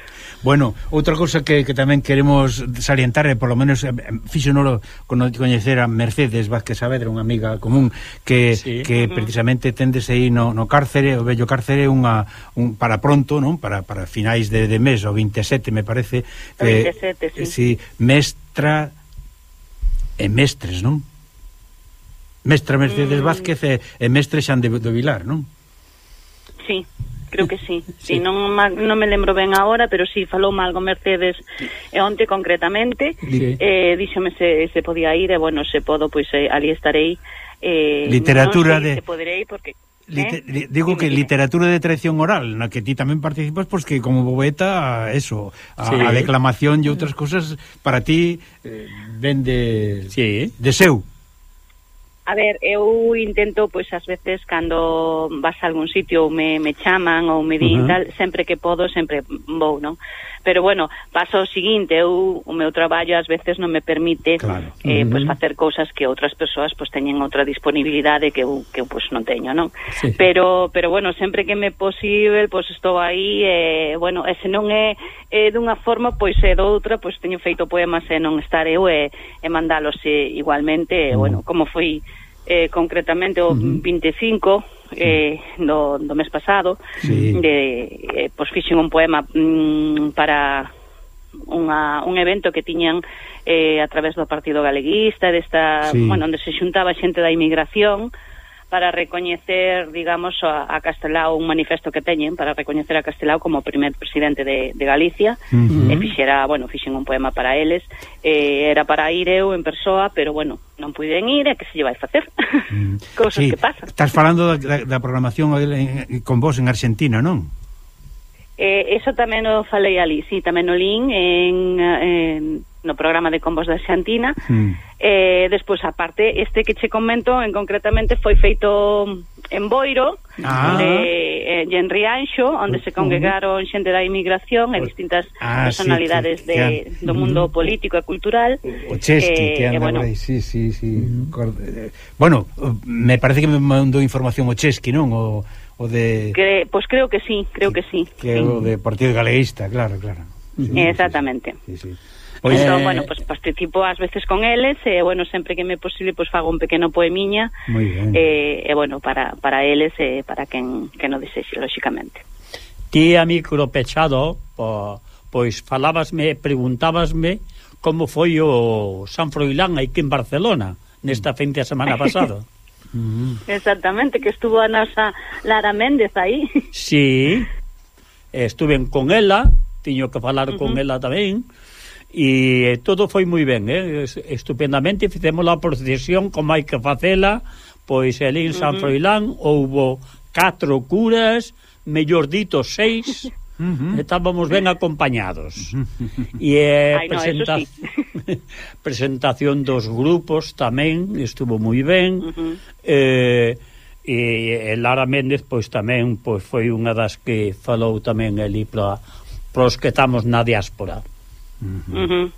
Bueno, outra cousa que, que tamén queremos salientar, e polo menos eh, fíxonolo coñecer a Mercedes Vázquez Saavedra, unha amiga común que, sí. Que uh-huh. precisamente tendes aí no, no cárcere, o vello cárcere, unha, un, para pronto, non? Para, para finais de, de mes, o veintisiete, me parece, que, veintisiete, sí. Sí, mestra e mestres, non? Mestra Mercedes mm. Vázquez e, e mestre Xan de, de Vilar, non? Sí. Creo que sí, sí. sí non, non me lembro ben agora, pero sí, falou algo Mercedes e onte concretamente, sí. eh, díxome se, se podía ir, e bueno, se podo, pois eh, ali estarei. Eh, literatura non sei de... se poderei, porque... Liter, eh? Digo que literatura de tradición oral, na que ti tamén participas, pois que como poeta, eso, a, sí. A declamación e outras cousas, para ti, eh, ven de, sí. De seu. A ver, eu intento, pois, ás veces, cando vas a algún sitio ou me, me chaman ou me din uh-huh. tal, sempre que podo, sempre vou, non? Pero, bueno, paso o seguinte, eu, o meu traballo ás veces non me permite claro. eh, uh-huh. pois, facer cousas que outras persoas pois, teñen outra disponibilidade que eu, que eu pois, non teño, non? Sí. Pero, pero, bueno, sempre que me é posible, pois, estou aí, e, bueno, e se non é, é dunha forma, pois, é doutra, pois, teño feito poemas e non estar eu e, e mandalos e, igualmente, uh-huh. e, bueno, como foi... Eh, concretamente o uh-huh. vinte e cinco eh, do, do mes pasado sí. de, eh, pois fixen un poema mm, para unha, un evento que tiñan eh, a través do Partido Galeguista desta, sí. bueno, onde se xuntaba xente da inmigración para recoñecer, digamos, a, a Castelao, un manifesto que teñen para recoñecer a Castelao como primer presidente de, de Galicia. Uh-huh. E fixera, bueno, fixen un poema para eles, eh, era para ir eu en persoa, pero bueno, non puiden ir, e que se lle vai facer? Mm. Cousas sí, que pasan. Estás falando da, da, da programación en, con vos en Argentina, non? Eh, eso tamén o falei ali, sí, tamén o lín en, en no programa de Combos de Argentina. Mm. Eh, despois, aparte, este que che comento en concretamente foi feito en Boiro, ah. de, eh, en Rianxo, onde se congregaron xente da inmigración e distintas ah, personalidades sí, que, de, que, do mundo mm. político e cultural. O Chesky, eh, que anda bueno, por aí, sí, sí, sí. Mm. Bueno, me parece que me mandou información o Chesky, non? O, o de... Que, pues creo que sí, creo que sí. Que sí. o de Partido Galeguista, claro, claro. Sí, exactamente. Sí, sí. Pois, entón, eh... bueno, pues participo ás veces con eles e, bueno, sempre que me é posible, pues fago un pequeno poemiña e, eh, eh, bueno, para, para eles e eh, para quen, que non desexe, lóxicamente. Ti a micro pechado, po, pois falábasme, preguntábasme como foi o San Froilán aquí en Barcelona nesta fin de semana pasado. Exactamente, que estuvo a nosa Lara Méndez aí. Sí, estuve con ela, tiño que falar uh-huh. con ela tamén. E todo foi moi ben, eh? Estupendamente. Fizemos a procesión como hai que facela. Pois ali en San uh-huh. Froilán houbo catro curas, mellor dito seis. Uh-huh. Estábamos ben acompañados. E eh, Ay, presenta... no, sí. presentación dos grupos tamén estuvo moi ben. Uh-huh. eh, e, e Lara Méndez pois tamén pois foi unha das que falou tamén ali para os que estamos na diáspora. Uh-huh. Uh-huh.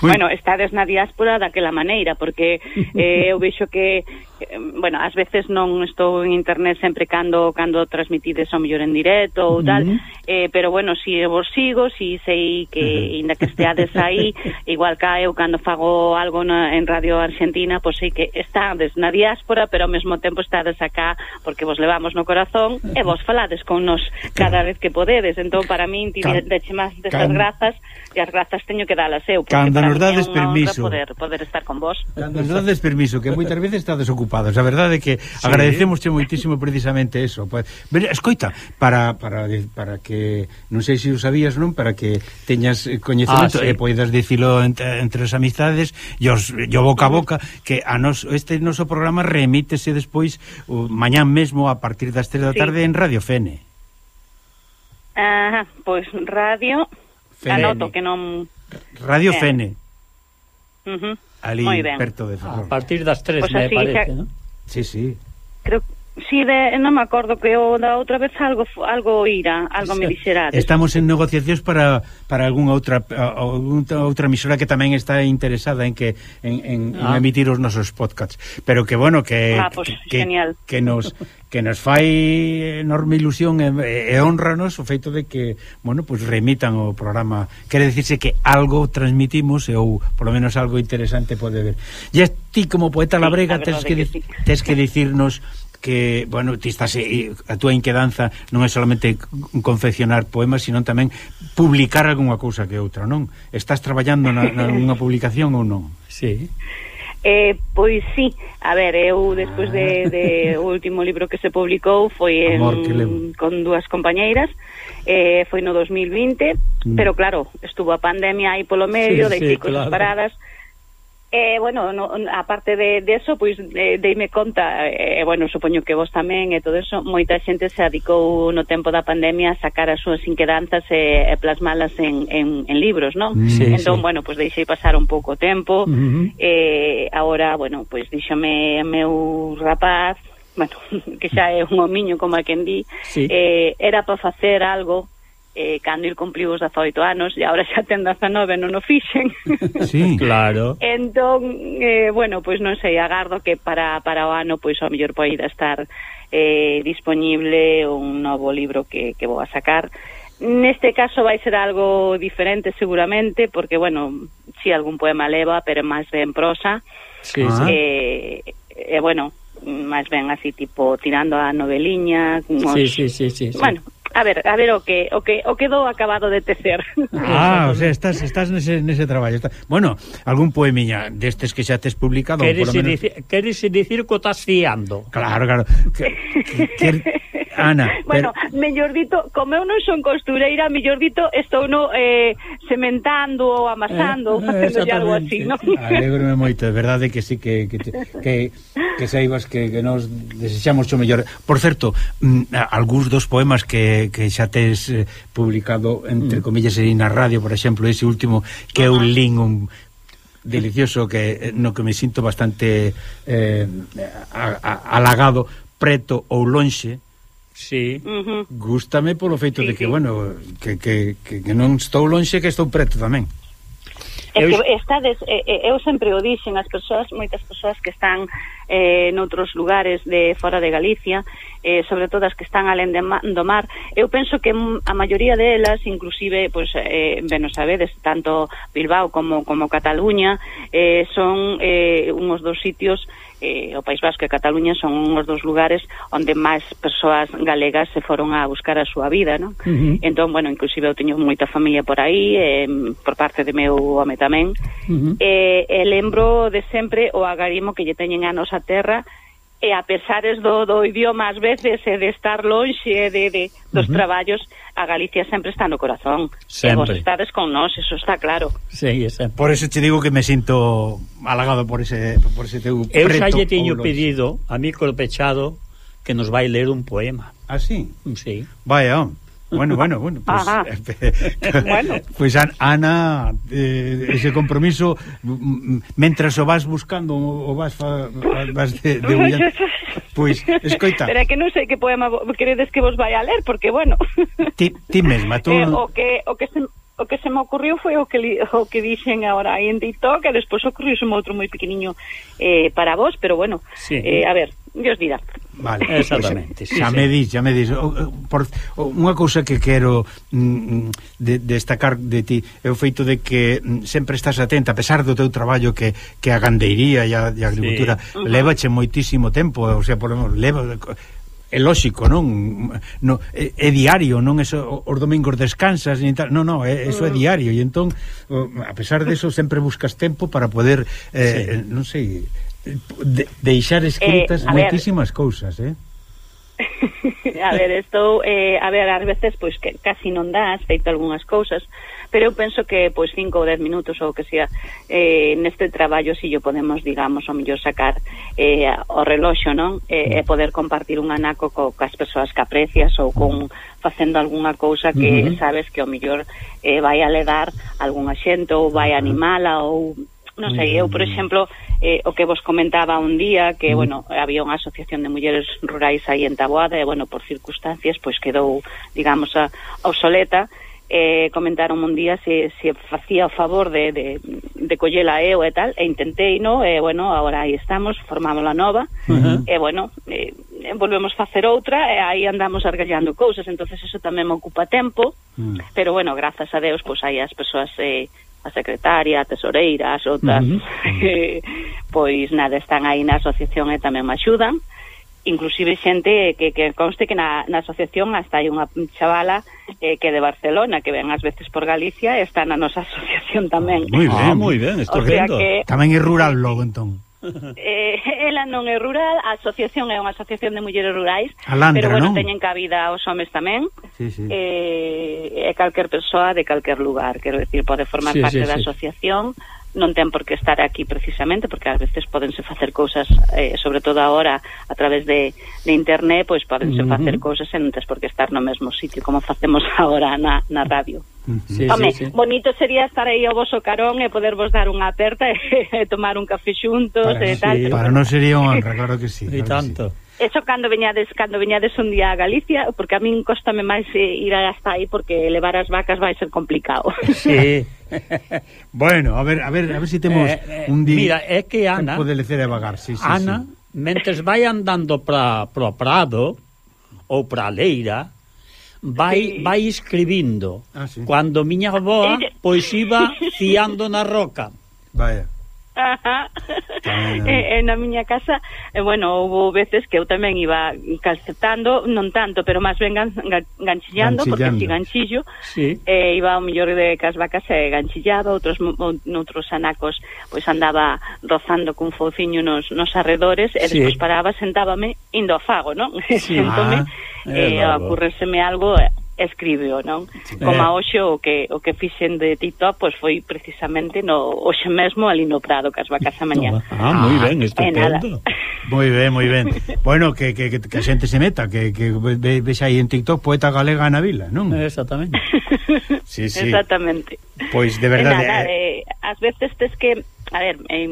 Bueno, estades na diáspora daquela maneira, porque eh, eu vexo que eh, bueno, ás veces non estou en internet sempre cando cando transmitides ao mellor en directo ou tal, uh-huh. eh, pero bueno, si vos sigo, si sei que uh-huh. inda que esteades aí, igual que eu cando fago algo na, en Radio Argentina, pois sei que estades na diáspora, pero ao mesmo tempo estades acá porque vos levamos no corazón e vos falades con nos cada vez que podedes. Entón, para min, ti deche máis desas grazas, e as grazas teño que dalas eu, porque cando para nos dades permiso poder, poder estar con vos. Cando nos dades permiso, que moitas veces estades ocupados. A verdade é que sí. agradecemosche moitísimo precisamente eso. Pues, escoita, para, para, para que non sei se o sabías, non, para que teñas coñecemento ah, sí. e poidas dicilo entre, entre as amistades e os, yo boca a boca, que a nos, este noso programa remítese despois o mañán mesmo a partir das tres da tarde sí. en Radio Fene. Ajá, pois pues, Radio Fene. Anoto que non Radio Fene. Uh-huh. Ali perto de Ferrol. A partir das tres, pues me así, parece, xa... ¿no? Sí, sí. Creo sí, de, non me acordo que o da outra vez algo algo ira, algo me dixerades. Estamos en negociacións para para algunha outra outra, outra emisora que tamén está interesada en que en, en, ah. en emitir os nosos podcasts, pero que bueno, que ah, pues, que, genial. que nos que nos fai enorme ilusión e, e honranos o feito de que, bueno, pues remitan o programa. Quere dicirse que algo transmitimos ou polo menos algo interesante pode ver. E ti como poeta sí, labrega tes que, que sí. tes que dicirnos que, bueno, ti estás, a túa inquedanza non é solamente confeccionar poemas, sino tamén publicar algunha cousa que outra, non? Estás traballando na, na unha publicación ou non? Sí. Eh, pois sí, a ver, eu despois de, de o último libro que se publicou foi en, Amor, con dúas compañeiras, eh, foi no dos mil vinte, mm. pero claro, estuvo a pandemia aí polo medio, sí, deixei sí, cosas claro. paradas. Eh, bueno, no, aparte de, de eso, pois eh, deime conta, eh, bueno, supoño que vos tamén e todo eso, moita xente se adicou no tempo da pandemia a sacar as súas inquedanzas e, e plasmalas en, en, en libros, non? Sí, entón, sí. bueno, pois deixei pasar un pouco tempo, uh-huh. eh, agora, bueno, pois díxome meu rapaz, bueno, que xa é un homiño como a quen di, sí. eh, era para facer algo eh, cando il cumpliu os dezaoito anos e agora xa ten dezanove, non o fixen. Sí, claro. Entón, eh, bueno, pois non sei, agardo que para, para o ano pois ao mellor poida estar eh, disponible un novo libro que, que vou a sacar. Neste caso vai ser algo diferente seguramente, porque, bueno, si sí, algún poema leva, pero máis ben prosa. Sí, sí. Eh, eh, bueno, máis ben así tipo tirando a noveliña. Sí, sí, sí, sí, sí. Bueno, A ver, a ver o que o que o quedou acabado de tecer. Ah, o sea, estás estás nese nese traballo. Está... Bueno, algún poemiña destes que xa tes publicado, queres por lo menos... dicir, queres dicir que o estás fiando. Claro, claro. Que, que, que... Ana, bueno, pero... mellor dito, como eu non son costureira, mellor dito, estou no eh, sementando ou amasando, ou eh, facendo algo así, ¿no? Alégrome moito, é verdade que sí que que te, que, que saibas que, que nos desexamos o mellor. Por certo, mm, algúns dos poemas que, que xa tes eh, publicado entre mm. comillas e na radio, por exemplo, ese último que é un link un delicioso que no que me sinto bastante eh, a, a, halagado, preto ou lonxe. Sí. Uh-huh. Gústame polo feito sí, de que, sí. bueno, que, que, que, que non estou lonxe, que estou preto tamén. É que estades, eh, eu sempre o dixen as persoas, moitas persoas que están eh, noutros lugares de fora de Galicia, eh, sobre todo as que están alén de ma, do mar, eu penso que a maioría delas, inclusive, pues, eh, ben, o sabedes, tanto Bilbao como, como Cataluña, eh, son eh, unhos dos sitios, eh, o País Vasco e Cataluña son unhos dos lugares onde máis persoas galegas se foron a buscar a súa vida, non? Uh-huh. Entón, bueno, inclusive eu teño moita familia por aí, eh, por parte de meu home tamén, uh-huh. e, e lembro de sempre o agarimo que lle teñen a nosa terra, e a pesares do, do idioma ás veces e de estar lonxe de, de, dos uh-huh. traballos, a Galicia sempre está no corazón. Sempre. E vos estades con nós, eso está claro. Sí, sempre. Por eso te digo que me sinto halagado por ese, por ese teu eu preto. Eu xa lle teño pedido a Mico Pechado que nos vai ler un poema. Ah, sí? Sí. Vaya, bueno, bueno, bueno, pues, bueno. Pues Ana, eh, ese compromiso, mentras o vas buscando o vas fa, vas de, de huyendo, pues, escoita. Pero é que non sei que poema queredes que vos vai a ler, porque, bueno... Ti, ti mesma, tú... Eh, o que, o que se... O que se me ocurriu foi o que li, o que dixen agora aí en TikTok, e despois ocurriuse outro moi pequeniño eh, para vos, pero bueno, sí. eh, a ver, Dios dirá. Vale, exactamente. Pues, sí, xa sí. me dis, xa me dis. Por, unha cousa que quero mm, de, destacar de ti é o feito de que mm, sempre estás atenta, a pesar do teu traballo que, que a gandeiría e a, e a agricultura sí. uh-huh. levache moitísimo tempo, o sea, por lo menos, leva... É lógico, non? No, é, é diario, non é so, os domingos descansas nin tal, non, non, é, eso é diario e entón, a pesar de eso sempre buscas tempo para poder eh, sí. non sei, de, deixar escritas eh, moitísimas ver. cousas, eh? A ver, estou eh, a ver, ás veces pois que casi non dás feito algunhas cousas, pero eu penso que pois cinco ou dez minutos ou que sea eh, neste traballo si yo podemos, digamos, o mellor sacar eh, o reloxo, non? E eh, poder compartir un anaco co, cas persoas que aprecias ou con facendo algunha cousa que uh-huh. sabes que o mellor eh, vai a le dar algunha xente ou vai a animala ou non sei, eu, por exemplo, eh, o que vos comentaba un día, que, bueno, había unha asociación de mulleres rurais aí en Taboada, e, bueno, por circunstancias, pois quedou, digamos, a, obsoleta, eh, comentaron un día se, se facía o favor de, de, de collela eu e tal, e intentei, no, e, bueno, agora aí estamos, formamos a nova, uh-huh. e, bueno, eh, volvemos facer outra, e aí andamos argallando cousas, entonces eso tamén me ocupa tempo, uh-huh. pero, bueno, grazas a Deus, pois aí as persoas... Eh, a secretaria, a tesoreira, as outras, uh-huh. eh, pois nada, están aí na asociación e tamén me axudan, inclusive xente que, que conste que na, na asociación hasta hai unha chavala eh, que é de Barcelona, que ven ás veces por Galicia e está na nosa asociación tamén. Moi ben, ah, moi ben, estupendo. O sea que, tamén é rural logo, entón. Eh, ela non é rural, a asociación é unha asociación de mulleres rurais, Alandra, pero bueno, non? teñen cabida os homes tamén, sí, sí. Eh, e calquer persoa de calquer lugar, quero decir, pode formar sí, parte sí, da sí. asociación, non ten por que estar aquí precisamente, porque ás veces podense facer cousas, eh, sobre todo agora a través de, de internet, pois podense uh-huh. facer cousas e non tens por que estar no mesmo sitio como facemos agora na, na radio. Sí, Home, sí, sí. bonito sería estar aí ao voso carón e podervos dar unha aperta e tomar un café xuntos para, e tal. Sí, para non sería unha honra, claro que sí. E claro tanto. Sí. Eso cando veñades cando veñades un día a Galicia, porque a min cóstame máis ir hasta aí porque levar as vacas vai ser complicado. Sí. Bueno, a ver, a ver, a ver si temos eh, eh, un día. Mira, é que Ana pode lecer a vagar, sí, sí, Ana, sí. mentes vai andando para pro prado ou para a leira, vai sí. vai escribindo. Ah, sí. Cando miña avoa pois iba fiando na roca. Vaya. Ajá. E, e na miña casa, eh, bueno, houve veces que eu tamén iba calcetando, non tanto, pero máis ben gan, gan, ganchillando, porque si ganchillo, sí. eh, iba ao mellor de cas vacas e ganchillaba, outros noutros anacos, pois andaba rozando cun fouciño nos, nos arredores, e despois sí. paraba, sentábame, indo ao fago, non? Sí. Sentome, ah, e eh, ocurreseme algo, escribeo, non? Como a hoxe o que o que fixen de TikTok, pois foi precisamente no hoxe mesmo ali no Prado, cas vacas a mañá. Ah, moi ben, estupendo. Moi ben, moi ben. Bueno, que, que, que a xente se meta, que, que ve, ves aí en TikTok Poeta Galega na Vila, non? Exactamente. Sí, sí. Exactamente. Pois de verdade. Nada, eh, ás veces tes que, a ver, eh,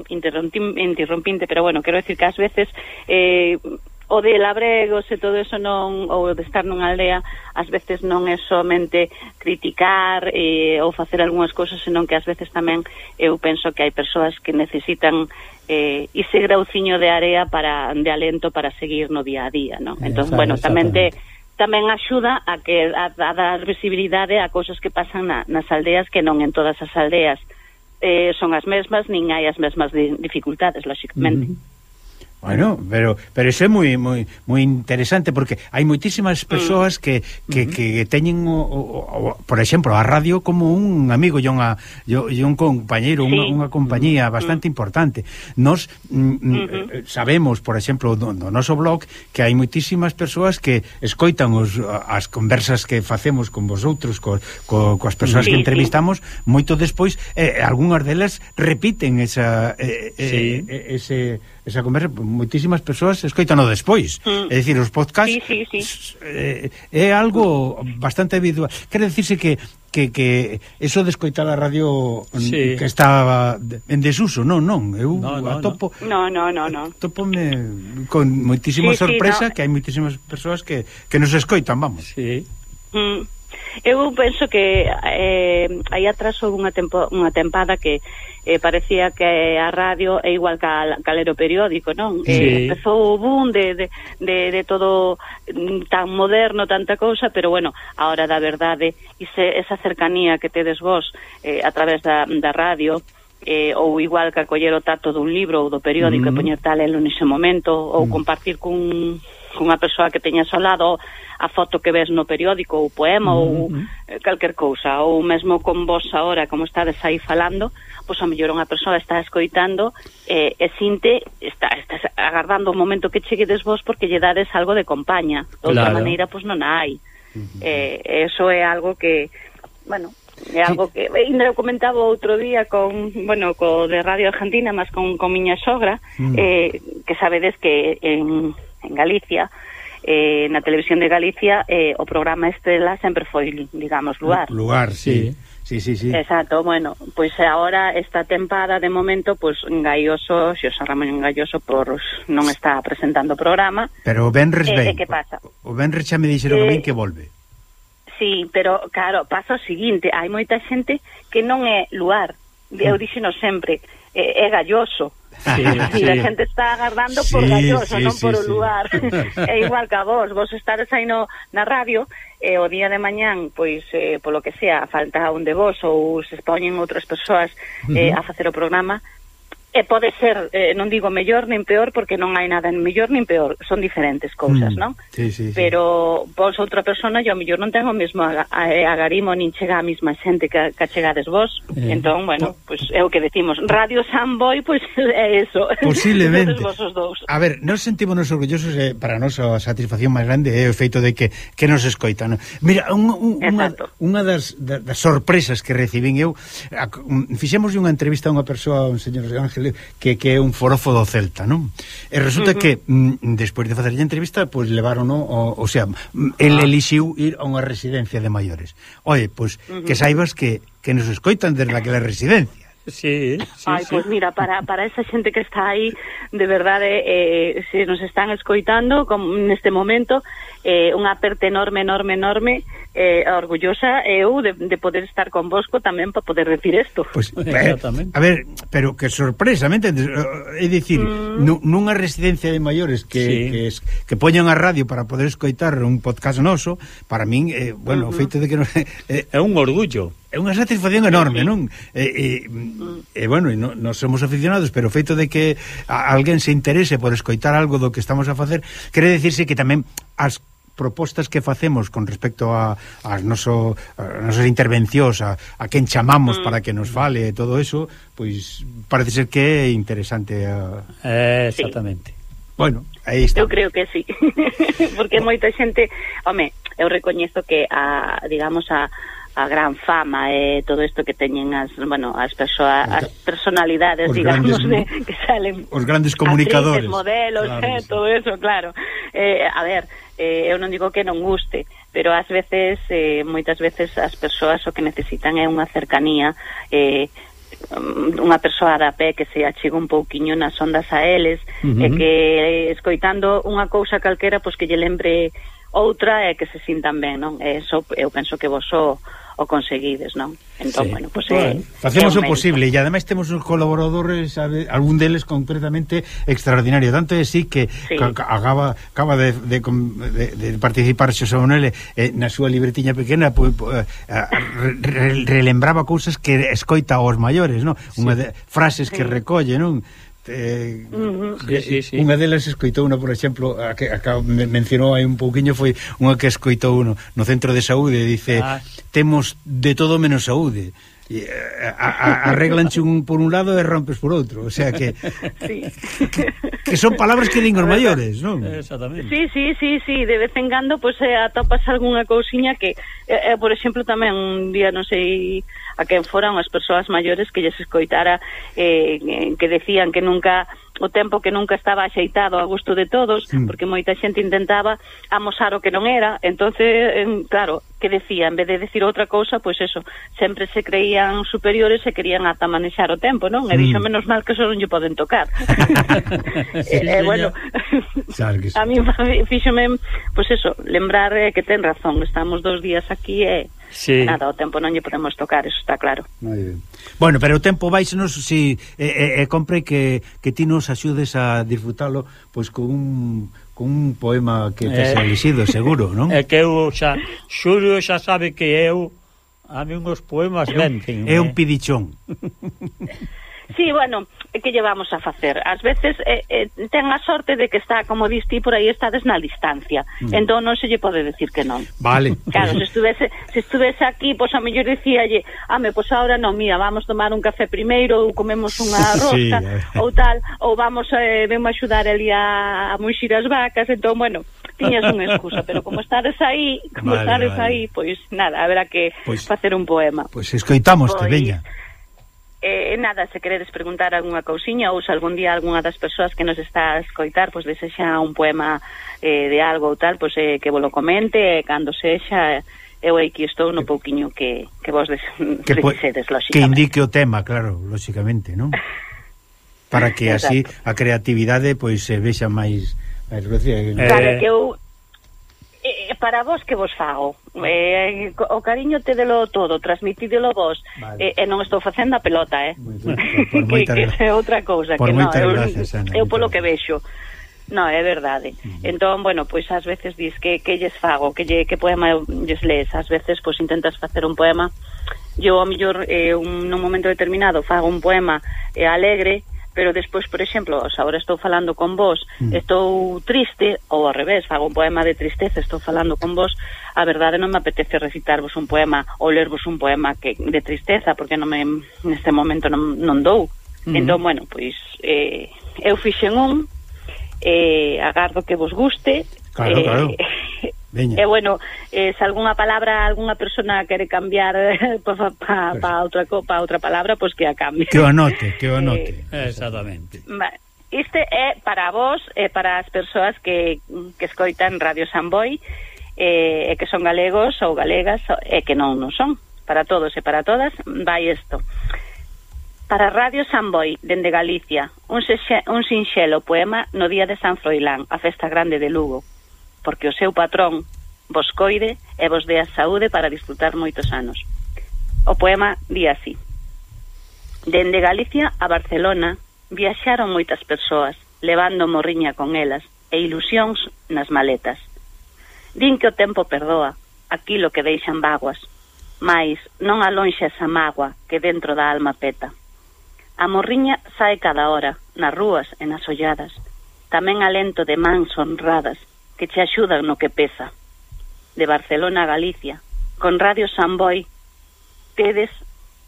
interrompinte, pero bueno, quero decir que ás veces eh o de labregos e todo eso non, ou de estar nunha aldea, ás veces non é somente criticar eh, ou facer algunhas cousas, senón que ás veces tamén eu penso que hai persoas que necesitan eh, ese grauciño de area para, de alento para seguir no día a día, non? Entón, bueno, tamén te tamén axuda a que a, a dar visibilidade a cousas que pasan na, nas aldeas, que non en todas as aldeas eh, son as mesmas, nin hai as mesmas di, dificultades, lógicamente. Uh-huh. Bueno, pero pero iso é moi moi moi interesante, porque hai moitísimas persoas que que, uh-huh. que teñen o, o, o, por exemplo, a radio como un amigo e unha e un compañeiro, sí. unha, unha compañía bastante uh-huh. importante. Nos uh-huh. sabemos, por exemplo, no, no noso blog, que hai moitísimas persoas que escoitan os, as conversas que facemos con vosotros, co, co, coas persoas sí, que entrevistamos, sí. moito despois, eh, algunhas delas repiten esa eh, sí. eh, ese esa conversa, moitísimas persoas escoitano despois. Mm. É dicir, os podcasts sí, sí, sí. Eh, é algo bastante habitual. Quere dicirse que que, que eso de escoitar a radio sí. que estaba en desuso, non, non, eu no, no, atopo no, no, no, no. atopome con moitísima sí, sorpresa sí, no. que hai moitísimas persoas que, que nos escoitan, vamos. Sí. Mm. Eu penso que eh, aí atrás houve unha, tempo, unha tempada que eh, parecía que a radio é igual que a calero periódico, non? Sí. Eh, empezou o boom de, de, de, de todo tan moderno, tanta cousa, pero bueno, a hora da verdade, ese, esa cercanía que tedes vos eh, a través da, da radio, eh, ou igual que acoller o tato dun libro ou do periódico mm. e poñer tal elo nese momento, ou mm. compartir cun cunha persoa que teñas ao lado a foto que ves no periódico, ou poema, mm-hmm. ou eh, calquer cousa, ou mesmo con vos agora, como estades aí falando, pois a mellor unha persoa está escoitando eh, e sinte, está, está agardando o momento que cheguedes vos porque lle dades algo de compaña. De outra claro. maneira, pois non hai. Mm-hmm. Eh, eso é algo que, bueno, é algo que ainda eu comentaba outro día con, bueno, co de Radio Argentina, mas con, con miña sogra, mm. eh, que sabedes que en en Galicia, eh, na televisión de Galicia, eh, o programa Estrela sempre foi, digamos, lugar. Lugar, sí. Sí, sí, sí. Exacto, bueno, pois pues agora esta tempada de momento, pois pues, Gaioso, Xosé Ramón Gaioso por non está presentando o programa. Pero o Benres eh, ven. Eh, que pasa? O Benres xa me dixeron eh, a min que volve. Sí, pero claro, pasa o seguinte, hai moita xente que non é lugar. Eu dixeno sempre, é, é Galloso. Sí, sí. A xente está agardando sí, por Galloso, sí, non sí, por o sí. lugar. É igual que a vos, vos estares aí no, na radio, e o día de mañán, pois, eh, polo que sea, falta un de vos ou se expoñen outras persoas eh, uh-huh. a facer o programa, e pode ser, eh, non digo mellor nin peor, porque non hai nada en mellor nin peor, son diferentes cousas, mm, non? Sí, sí, sí. Pero vos outra persona, yo mellor non tengo o mesmo agarimo, nin chega a mesma xente que, que chegades vos, eh, entón, bueno, pois pues, é o que decimos, Radio Samboy, pois pues, é eso. Posiblemente. A ver, nos sentímonos orgullosos, eh, para nós a satisfacción máis grande é o feito de que, que nos escoitan. Mira, un, un, unha, unha das, das, das sorpresas que recibín eu, a, fixemos unha entrevista a unha persoa, un señor Ángel, que, que é un forofo do Celta, non? E resulta uh-huh. que mm, despois de facer a entrevista, pois pues, levaron, o, o sea, el elixiu ir a unha residencia de maiores. Oye, pois pues, uh-huh. que saibas que, que nos escoitan desde aquela residencia. Sí, sí, Ai, sí. Pois mira, para, para esa xente que está aí, de verdade, eh, se nos están escoitando como neste momento, eh, unha aperta enorme, enorme, enorme, eh, orgullosa eu de, de poder estar con vosco tamén para poder decir isto. Pues, exactamente. A ver, pero que sorpresa, me entendes? É dicir, mm. nunha residencia de maiores que, sí. que, es, que poñan a radio para poder escoitar un podcast noso, para min, eh, bueno, uh-huh. o feito de que non... Eh, é un orgullo. é unha satisfacción enorme, sí, non? E, e, e bueno, e non, non somos aficionados, pero o feito de que a, alguén se interese por escoitar algo do que estamos a facer, quere decirse que tamén as propostas que facemos con respecto a as noso, a nosas intervencións, a, a quen chamamos mm. para que nos fale e todo eso, pois parece ser que é interesante a... eh, exactamente. Sí. Bueno, aí está. Eu creo que sí. Porque moita xente, home, eu recoñezo que a, digamos, a a gran fama e eh, todo isto que teñen as, bueno, as persoas, as personalidades, os digamos, grandes, de, que salen os grandes comunicadores, actrices, modelos, claro, eh, todo eso, claro. Eh, a ver, eh, eu non digo que non guste, pero ás veces, eh, moitas veces as persoas o que necesitan é unha cercanía, eh, unha persoa da pé que se achegue un pouquiño nas ondas a eles, uh-huh. e que escoitando unha cousa calquera, pois que lle lembre outra e que se sintan ben, non? E eso eu penso que vos o, o conseguides, non? Entón, sí. bueno, pues, bueno, eh, facemos o posible e ademais temos uns colaboradores, sabe, algún deles concretamente extraordinario, tanto é así que sí. ca, acaba, acaba de, de, de, de participar Xosé Manuel eh, na súa libretiña pequena, pues, pues, re, re, relembraba cousas que escoita aos maiores, non? Sí. Unha de, frases sí. que recolle, non? Eh, uh-huh. sí, sí, sí. Unha delas escoitou unha, por exemplo, a que, a que mencionou aí un pouquiño, foi unha que escoitou uno no centro de saúde, dice ah. temos de todo menos saúde, e, a, a, arreglanche un por un lado e rompes por outro, o sea que sí. que son palabras que din os maiores, non? Exactamente. Sí, sí, sí, sí, de vez en cando pois pues, eh, atopas algunha cousiña que eh, eh, por exemplo tamén un día non sei a quen foran as persoas maiores que lles escoitara eh, que decían que nunca o tempo que nunca estaba axeitado a gusto de todos, mm. porque moita xente intentaba amosar o que non era, entonces, eh, claro, que decía, en vez de decir outra cousa, pois pues eso, sempre se creían superiores e querían ata manexar o tempo, non? E dixo, menos mal que só non lle poden tocar. sí, eh, eh, bueno, a mí fíxome, pois pues eso, lembrar eh, que ten razón, estamos dos días aquí e sí. nada, o tempo non lle podemos tocar, eso está claro. Moi ben. Bueno, pero o tempo vaixenos si e eh, eh, compre que, que ti nos axudes a disfrutalo pois con un con un poema que te eh, elixido, seguro, non? É que eu xa Xulio xa sabe que eu a mí uns poemas vencen. É un pidichón. Sí, bueno, que llevamos a facer? Ás veces eh, eh, ten a sorte de que está, como dis ti, por aí estades na distancia. Mm. Entón non se lle pode decir que non. Vale. Claro, se estuvese, se estuvese aquí, pois pues, a mellor dicíalle, ame, pois pues ahora non, mira, vamos tomar un café primeiro, ou comemos unha rosca, sí, ou tal, ou vamos, eh, vemos a axudar ali a, a muxir as vacas, entón, bueno, tiñas unha excusa, pero como estades aí, como vale, estades vale. aí, pois pues, nada, haberá que pues, facer un poema. Pois pues, escoitamos, te veña. Eh, nada, se queredes preguntar algunha cousiña ou se algún día algunha das persoas que nos está a escoitar pois pues, desexa un poema eh, de algo ou tal, pois pues, eh, que vos lo comente, cando sexa eu aquí estou no pouquiño que, que vos des, que precisedes, lóxicamente. Que indique o tema, claro, lóxicamente, non? Para que así a creatividade pois se vexa máis... máis eh, vale, que eu Eh, para vos que vos fago eh, o cariño te delo todo, transmitídelo vos vale. eh, e non estou facendo a pelota eh? Por, por que, que é outra cousa por que non, eu, gracias, Ana, eu polo que vexo non, é verdade uh-huh. Entón, bueno, pois ás veces dis que, que lles fago, que, lle, que poema lles lees, ás veces pois intentas facer un poema eu ao mellor eh, un, nun momento determinado fago un poema eh, alegre, pero despois, por exemplo, agora estou falando con vos, mm. estou triste, ou ao revés, fago un poema de tristeza, estou falando con vos, a verdade non me apetece recitarvos un poema ou lervos un poema que de tristeza, porque non me, neste momento non, non dou. Mm. Entón, bueno, pois eh, eu fixen un, eh, agardo que vos guste. Claro, eh, claro. E eh, bueno, eh, se algunha palabra algunha persona quere cambiar eh, pa, pa, pa, outra, pa outra palabra, pois pues que a cambie. Que o anote, que o anote. Eh, Exactamente. Este é para vos e para as persoas que, que escoitan Radio Samboy e eh, que son galegos ou galegas e que non non son. Para todos e para todas vai isto. Para Radio Samboy, dende Galicia, un, sexe, un sinxelo poema no día de San Froilán, a festa grande de Lugo, porque o seu patrón vos coide e vos dea saúde para disfrutar moitos anos. O poema di así: dende Galicia a Barcelona viaxaron moitas persoas, levando morriña con elas e ilusións nas maletas. Din que o tempo perdoa aquilo que deixan vaguas, mais non alonxa esa mágoa que dentro da alma peta. A morriña sae cada hora, nas rúas e nas olladas, tamén alento de mans honradas que te axudan no que pesa. De Barcelona a Galicia, con Radio Samboy, tedes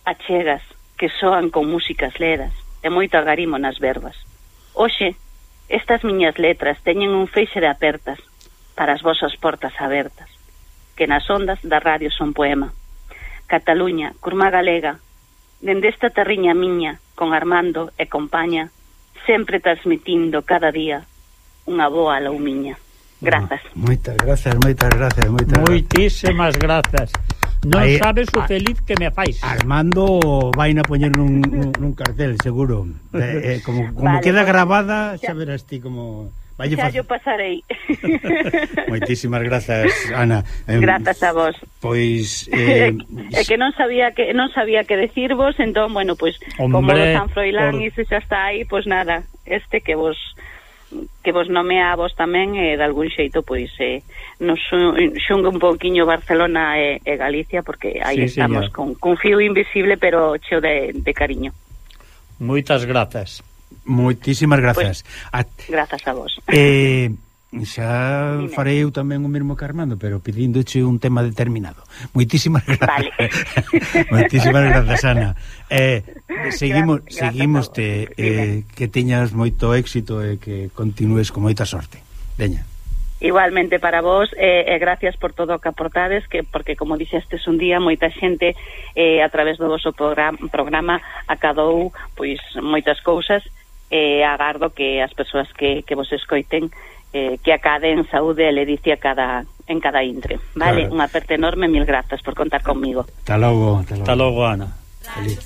achegas que soan con músicas ledas e moito agarimo nas verbas. Hoxe, estas miñas letras teñen un feixe de apertas para as vosas portas abertas, que nas ondas da radio son poema. Cataluña, curma galega, dende esta terriña miña, con Armando e compaña, sempre transmitindo cada día unha boa laumiña. Grazas. Oh, moitas grazas, moitas grazas, moitas Moitísimas grazas. Non Aí, sabes o feliz que me fais. Armando vai na poñer nun, nun, nun cartel, seguro. Eh, eh, como como vale, queda grabada, xa verás ti como... Xa yo pasarei. Moitísimas grazas, Ana. Eh, grazas a vos. Pois eh, é que non sabía que non sabía que decirvos, entón, bueno, pois pues, como o San Froilán por... e se xa está aí, pois pues nada, este que vos que vos nomea a vos tamén e eh, de algún xeito pois eh, nos xunga un pouquiño Barcelona e, e Galicia, porque aí sí, estamos con, con fío invisible pero cheo de, de cariño. Moitas grazas. Moitísimas grazas. Pues, a, grazas a vos. Eh, xa Dime. Farei eu tamén o mesmo que Armando, pero pedíndoche un tema determinado. Moitísimas grazas. Vale. Moitísimas grazas, Ana. Eh, seguimos grazas, seguimos te eh, que teñas moito éxito e que continúes con moita sorte. Veña. Igualmente para vos, e eh, eh, gracias por todo o que aportades, que porque como dixestes un día, moita xente eh, a través do vosso programa, programa acadou pois moitas cousas e eh, agardo que as persoas que, que vos escoiten eh, que acaden saúde e ledicia cada, en cada intre. Vale, claro. Unha aperta enorme, mil grazas por contar conmigo. Hasta logo. Hasta logo, Ana. Feliz.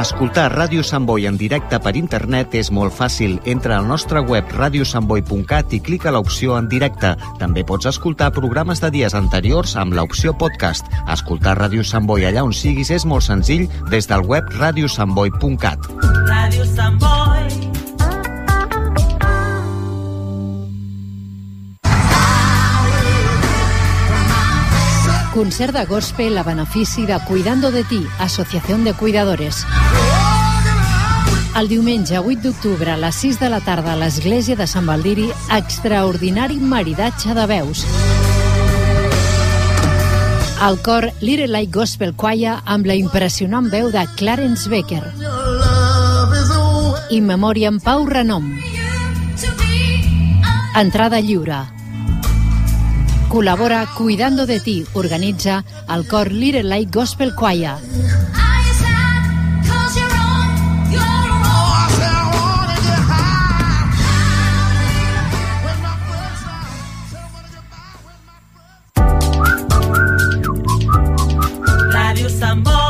Escoltar Ràdio Sant Boi en directe per internet és molt fàcil. Entra al nostre web radio sant boi punt cat i clica l'opció en directe. També pots escoltar programes de dies anteriors amb l'opció podcast. Escoltar Ràdio Sant Boi allà on siguis és molt senzill des del web radio sant boi punt cat. Ràdio Sant Boi. Concert de gospel a benefici de Cuidando de Ti, Associación de Cuidadores. El diumenge vuit d'octubre a les sis de la tarda a l'església de Sant Baldiri, extraordinari maridatge de veus. El cor Little Light Gospel Choir amb la impressionant veu de Clarence Becker. In Memoriam Pau Renom. Entrada lliure. Col·labora Cuidando de Ti, organitza el cor Little Light Gospel Choir. Ràdio Sant Boi.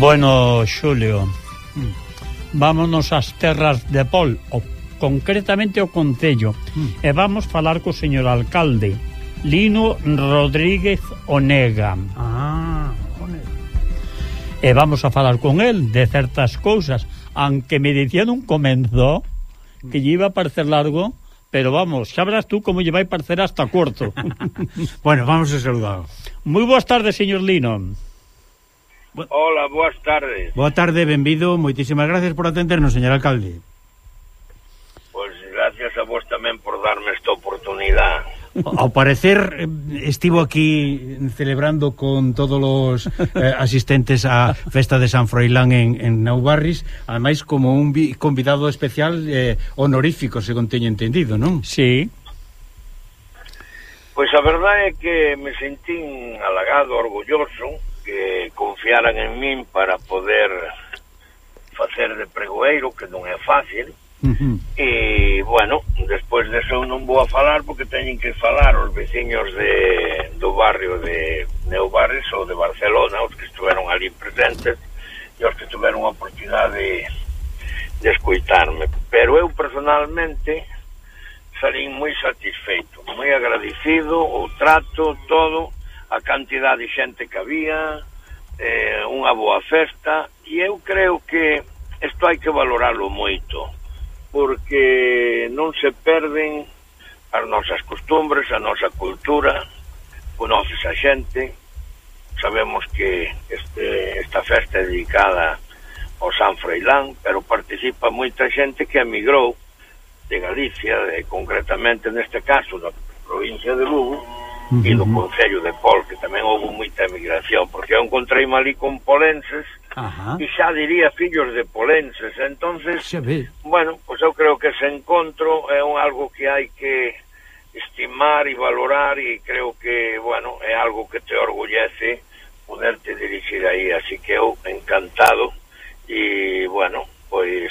Bueno, Xulio, vámonos ás terras de Pol, o, concretamente o Concello, mm. e vamos falar co señor alcalde Lino Rodríguez Onega. Ah, Onega. E vamos a falar con el de certas cousas, aunque me dicía nun comenzo que lle iba a parecer largo, pero vamos, xa verás tú como lle vai parecer hasta corto. Bueno, vamos a saludar. Moi boas tardes, señor Lino. Hola, boas tardes. Boa tarde, benvido, moitísimas gracias por atendernos, señor alcalde. Pois pues gracias a vos tamén por darme esta oportunidade. Ao parecer estivo aquí celebrando con todos os eh, asistentes á festa de San Froilán en, en Naubarris, ademais como un vi, convidado especial eh, honorífico, según teño entendido, non? Sí. Pois a verdade é que me sentín halagado, orgulloso que confiaran en min para poder facer de pregoeiro, que non é fácil. Uh-huh. E, bueno, despois deso non vou a falar porque teñen que falar os veciños de, do barrio de Neubarris ou de Barcelona, os que estiveron ali presentes e os que tiveron a oportunidade de, de escoitarme. Pero eu personalmente salín moi satisfeito, moi agradecido, o trato, todo, a cantidad de xente que había, eh, unha boa festa, e eu creo que isto hai que valoralo moito, porque non se perden as nosas costumbres, a nosa cultura, conoces a xente, sabemos que este, esta festa é dedicada ao San Froilán, pero participa moita xente que emigrou de Galicia, de, concretamente neste caso da provincia de Lugo, uh-huh. e do Concello de Pol, que tamén houve moita emigración, porque eu encontrei ali con polenses, uh-huh. e xa diría fillos de polenses, entonces, bueno, pois eu creo que ese encontro é un algo que hai que estimar e valorar, e creo que, bueno, é algo que te orgullece poderte dirigir aí, así que eu encantado, e, bueno, pois,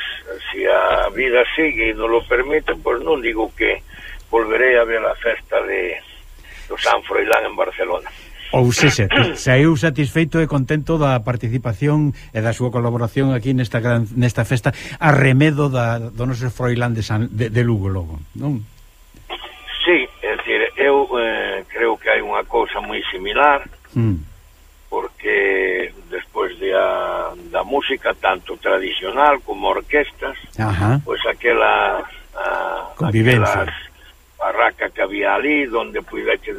se a vida sigue e non lo permite, pois non digo que volverei a ver a festa de do San Froilán en Barcelona. Ou se se, saiu satisfeito e contento da participación e da súa colaboración aquí nesta gran, nesta festa a remedo da, do noso Froilán de, San, de, de Lugo, logo, non? Sí, é dicir, eu eh, creo que hai unha cousa moi similar, mm. porque despois de a, da música tanto tradicional como orquestas, ajá. pois aquela a, convivencia, barraca que había ali donde puidete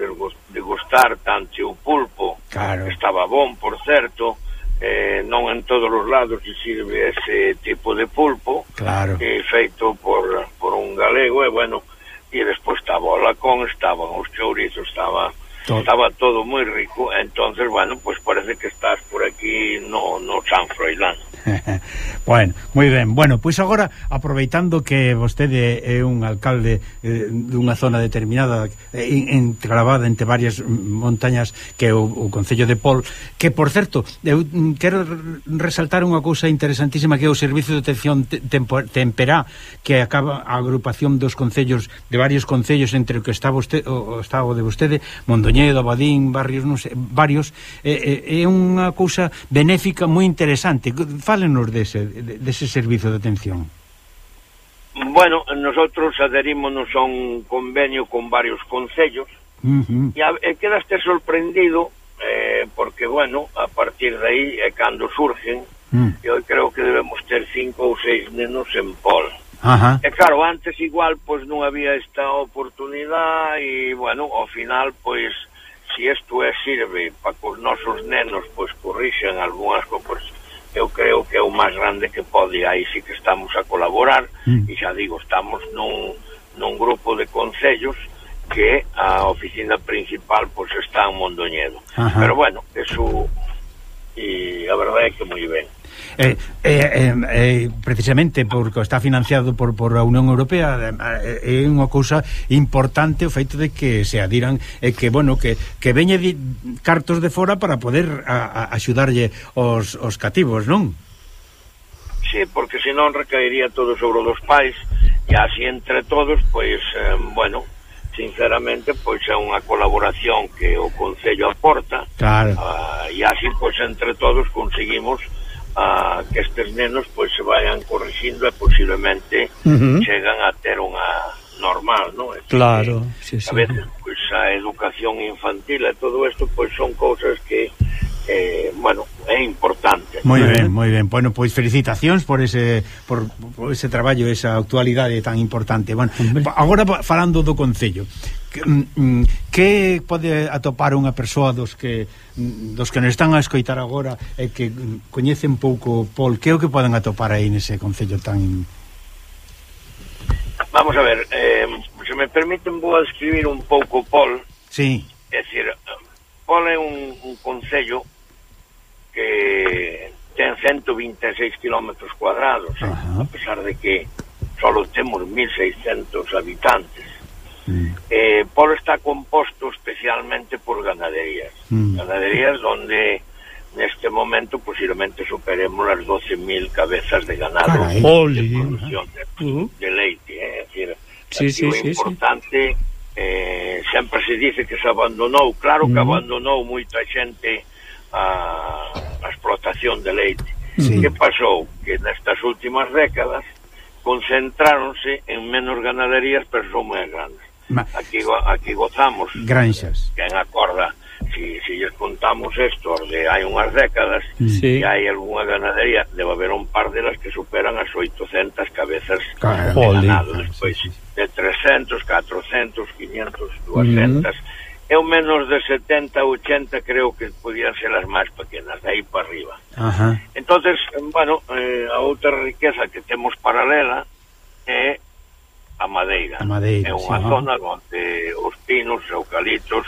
degustar tanto o pulpo, claro. estaba bon, por certo, eh, non en todos os lados se sirve ese tipo de pulpo, claro. eh, feito por, por un galego, e bueno, e despois estaba o lacón, estaban os chourizos, estaba todo. Estaba todo moi rico, entonces, bueno, pues parece que estás por aquí no, no San Froilán. Bueno, moi ben. Bueno, pois pues agora, aproveitando que vostede é un alcalde eh, dunha zona determinada eh, enclavada entre varias montañas que é o, o Concello de Pol, que, por certo, eu quero resaltar unha cousa interesantísima que é o Servicio de Atención Temperá, que acaba a agrupación dos concellos, de varios concellos entre o que está vostede, o estado de vostede, Mondoñedo, Abadín, barrios, non sei, varios, eh, eh, é unha cousa benéfica moi interesante. Fálenos dese, dese servizo de atención. Bueno, nosotros adherímonos a un convenio con varios concellos, uh-huh. e, a, e quedaste sorprendido eh, porque, bueno, a partir de aí é cando surgen, uh-huh. e hoy creo que debemos ter cinco ou seis nenos en Pol. Uh-huh. E claro, antes igual pois non había esta oportunidade e, bueno, ao final, pois, se isto é sirve para que os nosos nenos pois corrixan algunhas cousas, eu creo que é o máis grande que pode, aí sí que estamos a colaborar, mm. e xa digo, estamos nun, nun grupo de concellos que a oficina principal pois está en Mondoñedo. Ajá. Pero bueno, eso, e a verdade é que moi ben. Eh, eh, eh, precisamente porque está financiado por, por a Unión Europea, é eh, unha cousa importante o feito de que se adiran e eh, que, bueno, que, que veñe di, cartos de fora para poder a, a axudarlle os, os cativos, non? Sí, porque senón recaería todo sobre os pais, e así entre todos, pois, eh, bueno, sinceramente, pois é unha colaboración que o Concello aporta, claro. uh, e así, pois, entre todos conseguimos a que estes nenos pois se vayan corrigindo e posiblemente uh-huh. chegan a ter unha normal, non? Claro, sí, sí. A veces, pois, a educación infantil e todo isto, pois, son cousas que eh, bueno, é importante. Moi ben, moi ben. Bueno, pois felicitacións por ese por, por ese traballo, esa actualidade tan importante. Bueno, agora falando do Concello, que, que pode atopar unha persoa dos que dos que nos están a escoitar agora e que coñecen pouco Pol, que é o que poden atopar aí nese Concello tan... Vamos a ver, eh, se me permiten vou a describir un pouco Pol. Sí. É dicir, Pol é un, un concello que ten ciento vinte e seis kilómetros cuadrados, eh, a pesar de que solo temos mil seiscentos habitantes. Mm. Eh, Pol está composto especialmente por ganaderías. Mm. Ganaderías donde neste momento posiblemente superemos as doce mil cabezas de ganado de producción de, uh-huh. de leite. Eh? É dicir, sí, sí, o sí, importante, sí. Eh, sempre se dice que se abandonou, claro que uh-huh. abandonou moita xente a, a explotación de leite. Sí. Que pasou? Que nestas últimas décadas concentráronse en menos ganaderías, pero son moi grandes. Ma... Aquí, aquí gozamos granxas. Quen acorda, si, si lles contamos isto de hai unhas décadas, sí. E hai algunha ganadería, debe haber un par delas que superan as oitocentas cabezas de ganado, despois sí, sí. de trescentos, catrocentos, quinientos, duascentas, mm-hmm. e o menos de setenta, ochenta creo que podían ser as máis pequenas, de aí para arriba. Ajá. Entonces, bueno, eh, a outra riqueza que temos paralela é a madeira. A madeira, é unha sí, zona ¿no? onde os pinos, eucaliptos,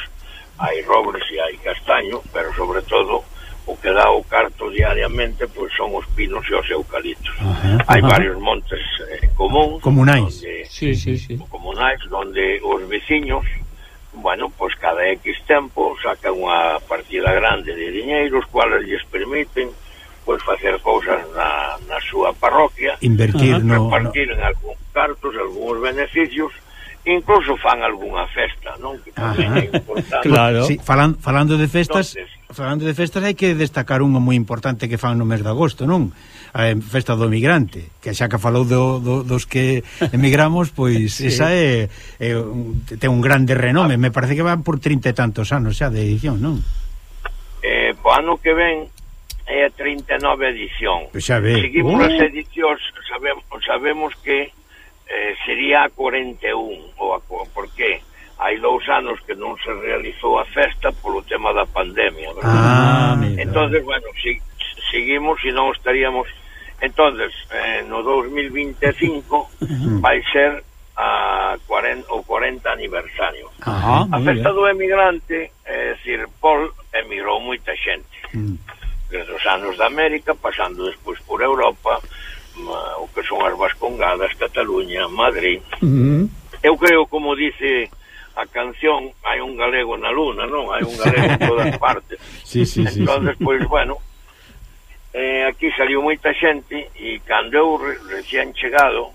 hai robles e hai castaño, pero sobre todo o que dá o carto diariamente pois son os pinos e os eucaliptos. Ajá, hai ajá. varios montes eh, comuns, comunais, donde, sí, sí, sí. comunais, donde os veciños, bueno, pois cada X tempo sacan unha partida grande de diñeiro, os cuales lles permiten pois facer cousas na, na súa parroquia, invertir, no, repartir no. en algúns cartos, algúns beneficios, incluso fan algunha festa, non? Que tamén é importante. Claro. Sí, falan, falando de festas, entonces, falando de festas hai que destacar unha moi importante que fan no mes de agosto, non? A festa do emigrante, que xa que falou do, do, dos que emigramos, pois sí. esa é, é ten un grande renome, me parece que van por trinta e tantos anos xa de edición, non? Eh, po ano que ven é a trinta e nove edición. Pues xa ve. Seguimos uh. as edicións, sabemos, sabemos que eh, sería a cuarenta e un, ou a, por qué? Hai dous anos que non se realizou a festa polo tema da pandemia, verdad? Ah, entonces, bueno, si, seguimos e non estaríamos. Entonces, eh, no dos mil vinte e cinco vai ser a cuarenta, o cuarenta aniversario. Ajá, a festa do emigrante, é dicir, Pol emigrou moita xente. Mm. Desde os anos da América, pasando despois por Europa, uh, o que son as Vascongadas, Cataluña, Madrid. Uh-huh. Eu creo, como dice a canción, hai un galego na luna, non? Hai un galego en todas partes. Sí, sí, sí. Entón, despois, sí. bueno, eh, aquí saliu moita xente, e cando eu re recién chegado,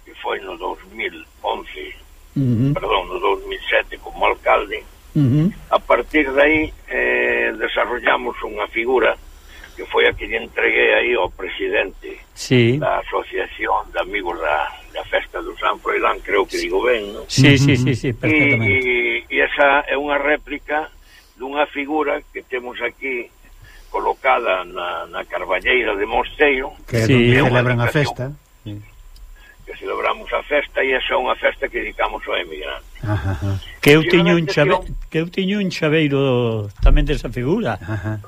que foi no dos mil once, uh-huh. perdón, no dos mil sete, como alcalde, uh-huh. a partir de aí eh, desarrollamos unha figura que foi a que lle entreguei aí ao presidente sí. da Asociación de Amigos da, da Festa do San Froilán, creo que digo ben, non? Sí, sí, sí, sí, perfectamente. E, e esa é unha réplica dunha figura que temos aquí colocada na, na Carballeira de Mosteiro, que sí. é celebran a festa, sí. que celebramos a festa, e esa é unha festa que dedicamos ao emigrante. Ajá, ajá. Que eu tiño un chave... que eu tiño un chaveiro tamén desa figura. Ajá.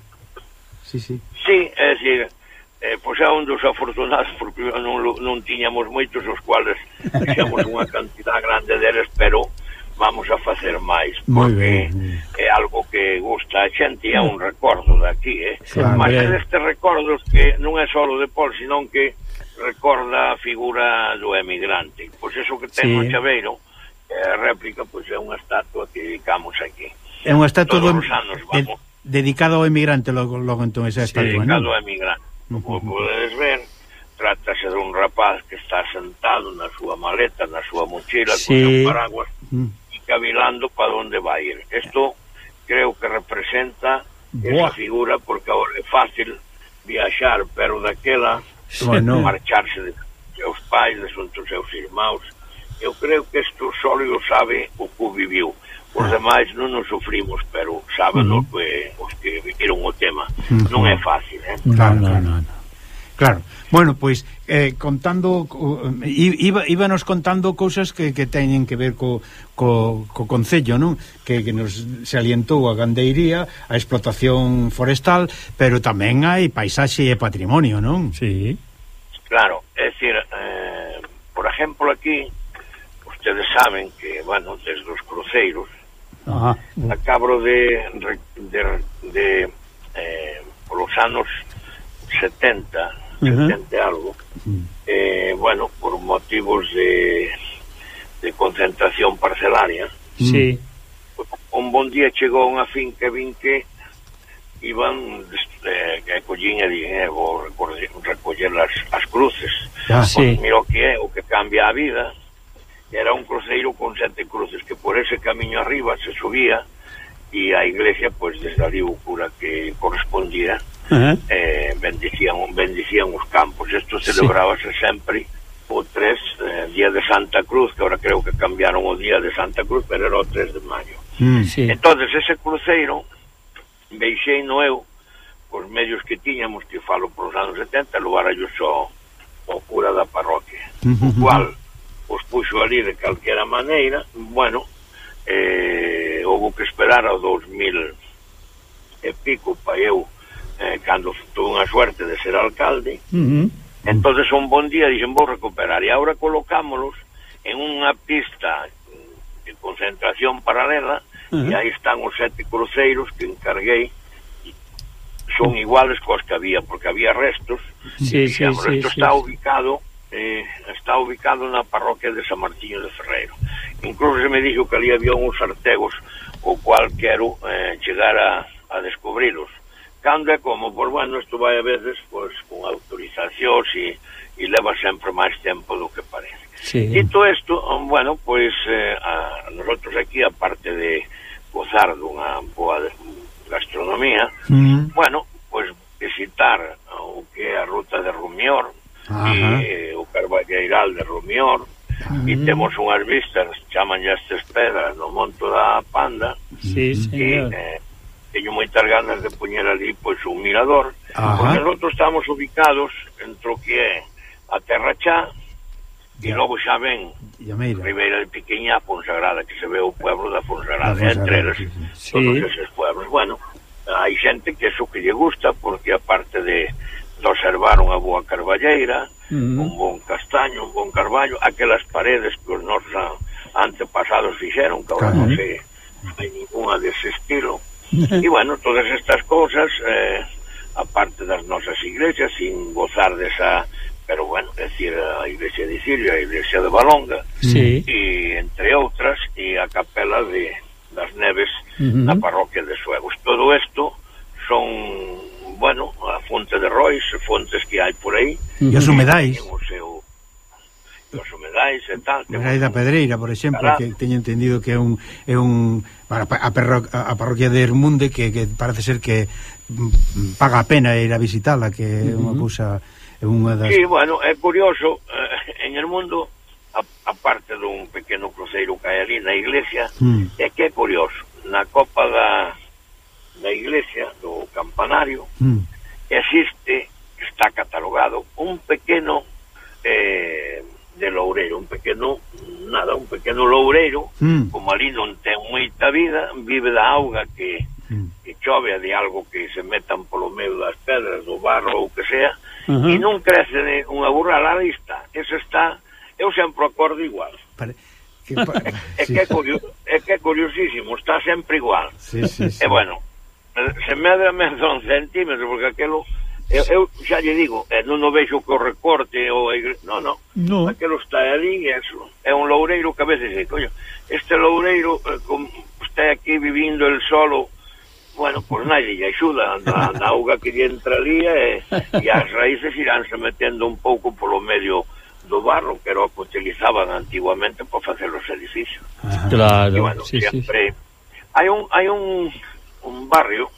Sí, sí. Sí, é dicir, eh, pois é un dos afortunados, porque non, non tiñamos moitos, os cuales fixamos unha cantidad grande deles, pero vamos a facer máis, porque é algo que gusta a xente, e é un recordo daqui, eh? Claro, mas é destes recordos que non é só de Pol, senón que recorda a figura do emigrante. Pois eso que ten sí. o chaveiro, a réplica, pois é unha estatua que dedicamos aquí. É unha estatua todos os anos, vamos. Dedicado ao emigrante, logo, logo entón esa estatua, sí, dedicado ¿no? ao emigrante. Como uh-huh. podes ver, trátase de un rapaz que está sentado na súa maleta, na súa mochila, sí. con seu paraguas, uh-huh. e cavilando para onde vai ir. Isto creo que representa Buah. esa figura, porque agora é fácil viaxar, pero daquela bueno. marcharse de seus pais, de os seus irmãos. Eu creo que isto só o sabe o que viviu. Os demais non nos sufrimos, pero saben uh -huh. que, os que viviron o tema. Uh -huh. Non é fácil, eh? Claro, claro, claro. Claro. Bueno, pois eh, contando uh, iba, íbanos contando cousas que, que teñen que ver co, co, co concello, non? Que, que nos se alientou a gandeiría, a explotación forestal, pero tamén hai paisaxe e patrimonio, non? Sí. Claro, é dicir, eh, por exemplo, aquí ustedes saben que, bueno, desde os cruceiros Ajá. acabo de de, de eh, polos anos setenta, uh-huh. setenta algo, uh-huh. eh, bueno, por motivos de de concentración parcelaria, sí. un bon día chegou unha finca vin que iban eh, que collín e dixen, eh, vou recoller, recoller as, as cruces. Ah, sí. Mira o que é, o que cambia a vida. Era un cruceiro con sete cruces que por ese camiño arriba se subía e a iglesia, pues desde ali o cura que correspondía uh-huh. eh, bendicían, bendicían os campos. Isto celebrábase sí. sempre o tres, eh, día de Santa Cruz, que ahora creo que cambiaron o día de Santa Cruz, pero era o tres de maio. Mm, sí. Entonces ese cruceiro veixei no eu os medios que tiñamos, que falo por os anos setenta, levar yo só o cura da parroquia, uh-huh. o cual os puxo ali de calquera maneira. Bueno, eh, houve que esperar ao dos mil e pico pa eu, eh, cando tuve unha suerte de ser alcalde. Uh-huh. Entonces un bon día dixen, vou recuperar, e agora colocámolos en unha pista de concentración paralela. Uh-huh. E aí están os sete cruceiros que encarguei, son iguales cos que había, porque había restos. Sí, sí, digamos, sí, esto sí, está sí. ubicado eh, está ubicado na parroquia de San Martiño de Ferreiro. Incluso se me dixo que ali había uns artegos o cual quero eh, chegar a, a descubrilos. Cando é como, pois bueno, isto vai a veces pois, con autorizacións e, e leva sempre máis tempo do que parece. Sí. Dito isto, bueno, pois eh, a nosotros aquí, aparte de gozar dunha boa gastronomía, mm. bueno, pois visitar o que é a ruta de Rumior e o Carballeiral de Rumior, mm. e temos unhas vistas, chaman estas pedras no Monto da Panda, sí, señor. E eh, teño moitas ganas de poñer ali pois un mirador. Ajá. Porque nosotros estamos ubicados entre o que é a Terra Chá e logo xa ven Ribeira de Piquiñá, Fonsagrada, que se ve o pueblo da Fonsagrada, entre eles, sí. todos eses pueblos. Bueno, hai xente que eso que lle gusta, porque aparte de, de observar unha boa carballeira, mm. un bon castaño, un bon carballo, aquelas paredes que os nosos antepasados fixeron, que agora non sei, hai ninguna dese estilo. E bueno, todas estas cousas, eh, aparte das nosas iglesias, sin gozar desa... pero bueno, é dicir, a iglesia de Siria, a iglesia de Balonga, sí. e entre outras, e a capela de das Neves uh-huh. na parroquia de Suegos. Todo isto son, bueno, a fonte de Rois, fontes que hai por aí. E os humedais. O seu, os humedais e tal. O humedais da Pedreira, por exemplo, Cará. que teño entendido que é un... É un a, perro, a parroquia de Hermunde, que, que parece ser que paga a pena ir a visitarla, que é uh-huh. unha cousa... Unha das... Sí, bueno, é curioso, eh, en el mundo, a, a parte dun pequeno cruceiro que hai ali na iglesia, mm. é que é curioso, na copa da, da iglesia, do campanario, mm. existe, está catalogado, un pequeno eh, de loureiro, un pequeno, nada, un pequeno loureiro, mm. como ali non ten moita vida, vive da auga que, mm. que chove, de algo que se metan polo medio das pedras, do barro ou que sea, Uh-huh. e non crece de unha burra a la vista. Eso está, eu sempre acordo igual. Pare... Que pa... é, sí. que é, curio... é que é curiosísimo, está sempre igual. Sí, sí, sí. E bueno, se medra menos un centímetro, porque aquelo, eu, eu xa lle digo, eh, non o vexo que o recorte ou a igre... no, no, no, aquelo está ali e eso. É un loureiro que a veces dice, coño, este loureiro eh, com... está aquí vivindo el solo. Bueno, pois pues nadie lle axuda, a auga que lle entra ali e, e as raíces iránse metendo un pouco polo medio do barro, que era o que utilizaban antiguamente para facer os edificios. Claro, e bueno, sí, sempre sí. hai un hai un, un barrio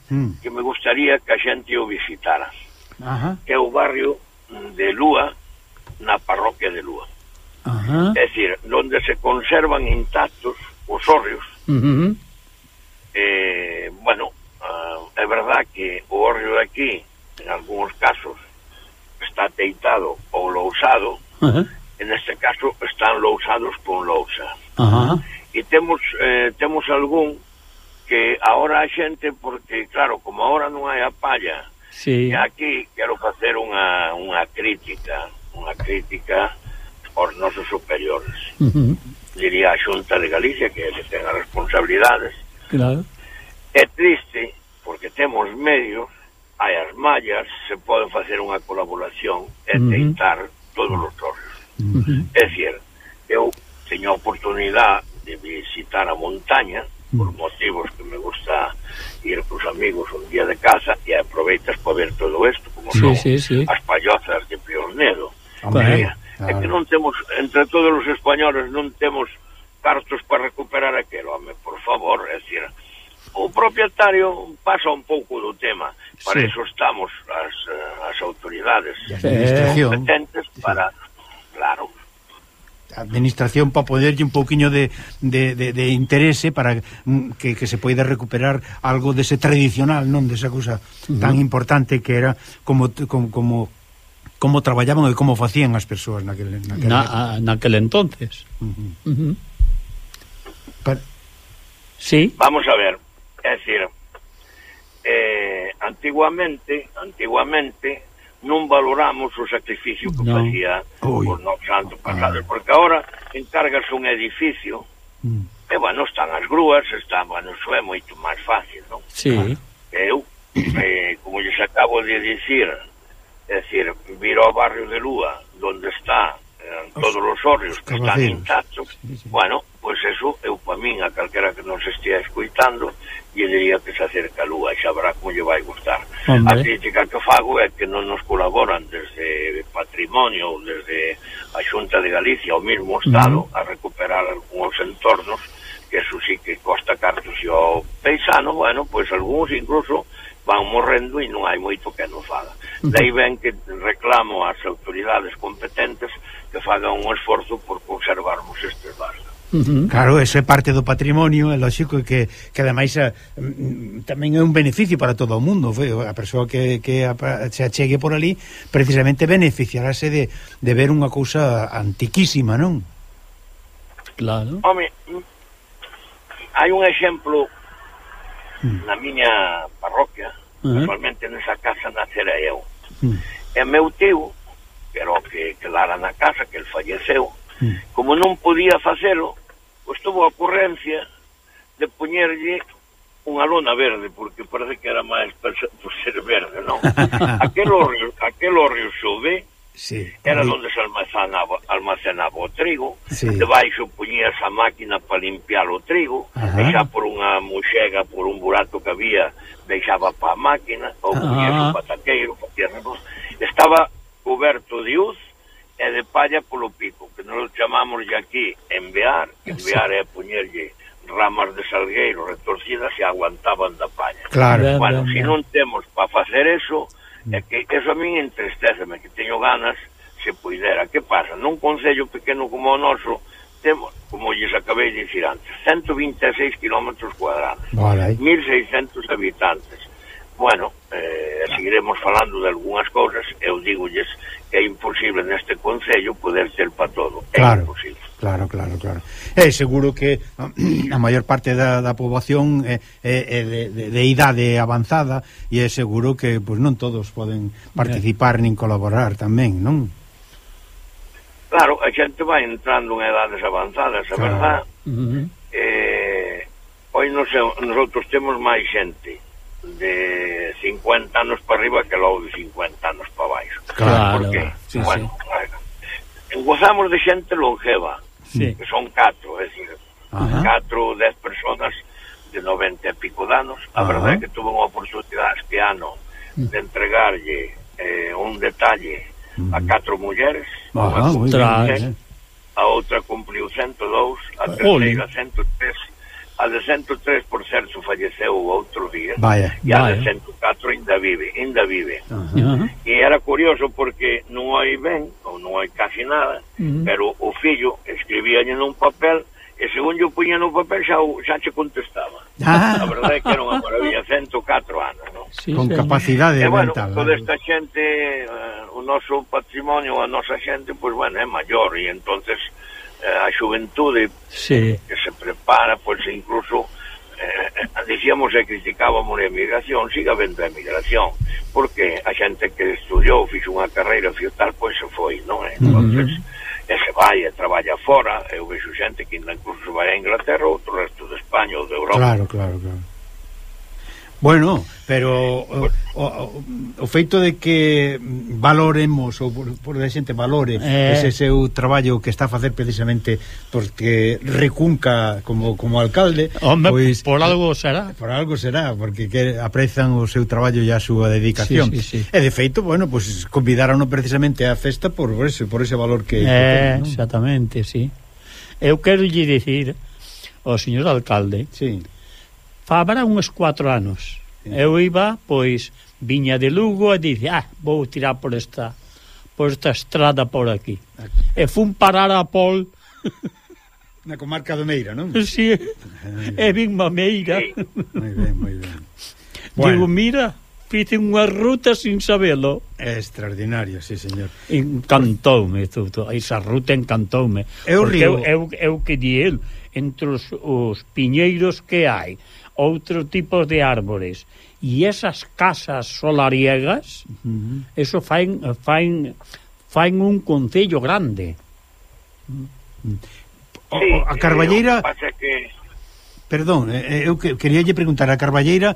mm. que me gustaría que a xente o visitara. Ajá. Que é o barrio de Lúa, na parroquia de Lúa. Ajá. É dicir, onde se conservan intactos os hórreos. Uh-huh. Eh, bueno, uh, é verdad que o hórreo de aquí, en algúns casos, está teitado ou lousado, Uh-huh. en este caso están lousados con lousa. Ajá. E temos eh, temos algún que ahora a xente, porque claro, como ahora non hai a palla, Sí. e aquí quero facer unha, unha crítica, unha crítica aos nosos superiores. Uh-huh. Diría a Xunta de Galicia, que se ten as responsabilidades. Claro. É triste, porque temos medios, hai as mallas, se pode facer unha colaboración e Uh-huh. teitar todos os hórreos. Uh-huh. É dicir, eu teño a oportunidade de visitar a montaña, por motivos que me gusta ir cos amigos un día de casa, e aproveitas para ver todo isto, como Sí, son sí, sí. as pallozas de Piornedo. Hombre, É que non temos, entre todos os españoles, non temos cartos para recuperar aquilo, home, por favor, é dicir, o propietario pasa un pouco do tema, para Sí. eso estamos as, as autoridades a administración, competentes para, claro, a administración para poderlle un pouquiño de, de, de, de interese para mm, que, que se poida recuperar algo dese tradicional, non desa cousa uh-huh. tan importante que era como como, como como traballaban e como facían as persoas naquele, naquele Na, a, naquel entonces. uh-huh. Uh-huh. Para... Sí. vamos a ver, é dicir, eh, antiguamente, antiguamente non valoramos o sacrificio que No. facía Ui. os nosos antepasados, porque agora encárgase un edificio, Mm. e, bueno, están as grúas, están, bueno, iso é moito máis fácil, non? Sí. Eu, eh, como lles acabo de dicir, é dicir, vir ao barrio de Lúa, donde está eh, todos os hórreos que están Cabaceiros. intactos, Sí, sí. bueno, pois pues eso, eu pa min, a calquera que nos estea escuitando, e diría que se acerca a Lúa, e xa verá como lle vai gustar. Hombre. A crítica que fago é que non nos colaboran desde Patrimonio ou desde a Xunta de Galicia ou mesmo o Estado Uh-huh. a recuperar algúns entornos, que eso sí que costa cartos e ao paisano, bueno, pois pues algúns incluso van morrendo e non hai moito que nos faga. Uh-huh. Daí ven que reclamo ás autoridades competentes que fagan un esforzo por conservarmos estes barcos. Uh-huh. Claro, eso é parte do patrimonio, é lógico que, que ademais a, mm, tamén é un beneficio para todo o mundo. Foi a persoa que, que a, se achegue por ali precisamente beneficiarase de, de ver unha cousa antiquísima, non? Claro. Home, hai un exemplo Mm. na miña parroquia, Uh-huh. casualmente nesa casa nacera eu. Mm. E meu tío, que era o que quedara na casa, que el falleceu, Mm. como non podía facelo, pois tuvo a ocurrencia de poñerlle unha lona verde, porque parece que era máis por ser verde, non? aquel horrio, aquel horrio xove Sí. era onde se almacenaba, almacenaba o trigo, Sí. debaixo poñías a máquina para limpiar o trigo, Ajá. e xa por unha moxega, por un burato que había, deixaba para a máquina, ou Ajá. poñías o pataqueiro, facías arroz. Estaba coberto de uz e de palla polo pico, que nos chamamos de aquí envear, que envear é poñerlle ramas de salgueiro retorcidas e aguantaban da palla. Claro. Ben, Bueno, ben, se ben. non temos para facer eso, é que eso a min entristeceme, que teño ganas se puidera. Que pasa? Nun concello pequeno como o noso, temos, como lles acabei de dicir antes, ciento vinte e seis kilómetros cuadrados, Vale. mil seiscentos habitantes. Bueno, eh, seguiremos falando de algunhas cousas, eu digolles que é imposible neste concello poder ter para todo. É Claro. imposible. Claro, claro, claro. É seguro que a maior parte da, da poboación é, é, é de, de, de idade avanzada e é seguro que pois non todos poden participar nin colaborar tamén, non? Claro, a xente vai entrando en edades avanzadas, a Claro. verdad. Uh-huh. Eh, hoy nos, nosotros temos máis xente de cincuenta anos para arriba que logo de cincuenta anos para baixo. Claro. Porque, Sí, bueno, sí. Gozamos de xente longeva, Sí. que son catro, é dicir, Ajá. catro, dez personas de noventa e pico de anos. A Ajá. verdade é que tuve unha oportunidade este ano de entregarlle eh, un detalle a catro mulleres. Ajá, Unha moi Ostras. ben. a outra cumpliu cento e dous, a Ole. terceira cento e tres, a de ciento tres, por certo, falleceu outro día. Vaya, e a vaya. de ciento catro ainda vive, ainda vive. Uh-huh. E era curioso porque non hai ben, ou non hai casi nada, Uh-huh. pero o fillo escribíalle nun papel e según yo puña no papel xa, xa che contestaba. Ah. A verdade é que era unha maravilla, ciento catro anos, non? Sí, Con sí. capacidade E bueno, mental. toda esta xente, uh, o noso patrimonio, a nosa xente, pois bueno, é maior e entonces uh, a xuventude Sí. que se prepara, pois incluso eh, decíamos e criticábamos a emigración, siga vendo a emigración, porque a xente que estudiou, fixo unha carreira fiotal, pois se foi, non é? Entonces, e se vai e traballa fora, eu vexo xente que ainda incluso vai a Inglaterra ou outro resto de España ou de Europa. Claro, claro, claro. Bueno, pero o, o, o feito de que valoremos ou por, por a xente valore Eh. ese seu traballo que está a facer precisamente porque recunca como, como alcalde, Hombre, pois, por algo será. por algo será, porque que aprezan o seu traballo e a súa dedicación. Sí, sí, sí. E de feito, bueno, pois convidaron precisamente á festa por ese, por ese valor que, que Eh, ten, non? exactamente, sí. Eu quero lle dicir ao señor alcalde, Sí. fabra uns cuatro anos. Sí. Eu iba, pois, viña de Lugo e dice, ah, vou tirar por esta por esta estrada por aquí. E fun parar a Pol, Na comarca do Meira, non? sí, e vin mameira. Sí. Moi ben, moi ben. Digo, Bueno, mira, fice unha ruta sin sabelo. é extraordinario, sí, señor. Encantoume tudo, esa ruta encantoume. É o Porque río. eu, eu, eu que di el, entre os, os piñeiros que hai, outro tipo de árbores e esas casas solariegas, Uh-huh. eso fain, fain, fain un concello grande. O, Sí, o, a Carballeira, eh, o que pasa é que perdón, eh, eu que, queríalle preguntar, a Carballeira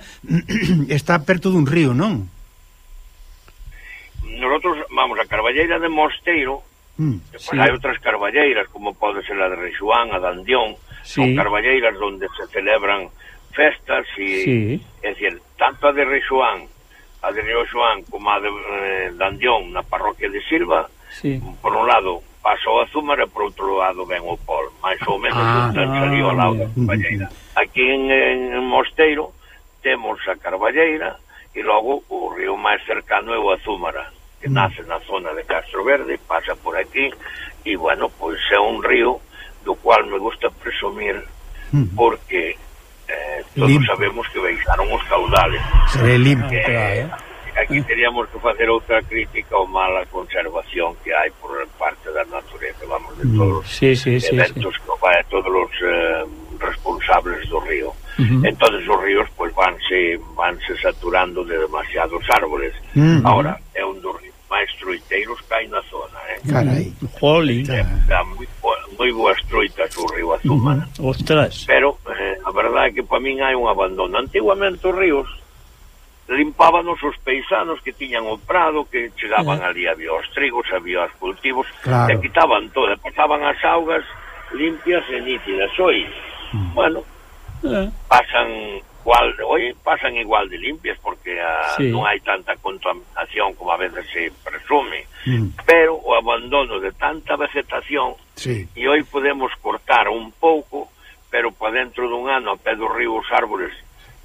está perto dun río, non? nosotros, vamos, a Carballeira de Mosteiro, Mm. depois Sí. hai outras carballeiras, como pode ser a de Reixuán, a de Andión, Sí. son carballeiras onde se celebran festas e, Sí. é dicir, tanto a de Reixuán, a de Río Xoán, como a de, eh, de Andión, na parroquia de Silva, Sí. por un lado pasa o Azúmar e por outro lado ven o Pol, máis ou menos Ah, ah, salió ao lado da Carballeira. Aquí en, en Mosteiro temos a Carballeira e logo o río máis cercano é o Azúmara, que nace na zona de Castro Verde, pasa por aquí e, bueno, pois é un río do cual me gusta presumir Mm. porque eh, todos Limpo. sabemos que baixaron os caudales. Se ve limpio. Que, claro. aquí teríamos que facer outra crítica ao mala conservación que hai por parte da natureza, vamos, de todos os Sí, sí, sí, sí. eventos que vai a todos os eh, responsables do río. Ujú. Entonces os ríos pues vanse vanse saturando de demasiados árboles. Mm. Ahora é un dos ríos máis troiteiros que hai na zona, eh. Carai. Jolín. Ya. Dá moi, bo- moi boas troitas o río Azúmara. Ostras. Pero eh, a verdade é que para min hai un abandono. Antiguamente os ríos limpábanos os paisanos que tiñan o prado, que chegaban Eh. ali, había os trigos, había os cultivos, Claro. e quitaban todo, pasaban as augas limpias e nítidas. Hoy, bueno, Eh, pasan igual, hoy pasan igual de limpias porque ah, Sí. non hai tanta contaminación como a veces se presume, Mm. pero o abandono de tanta vegetación, Sí. e hoy podemos cortar un pouco, pero para dentro dun ano a pé do río os árboles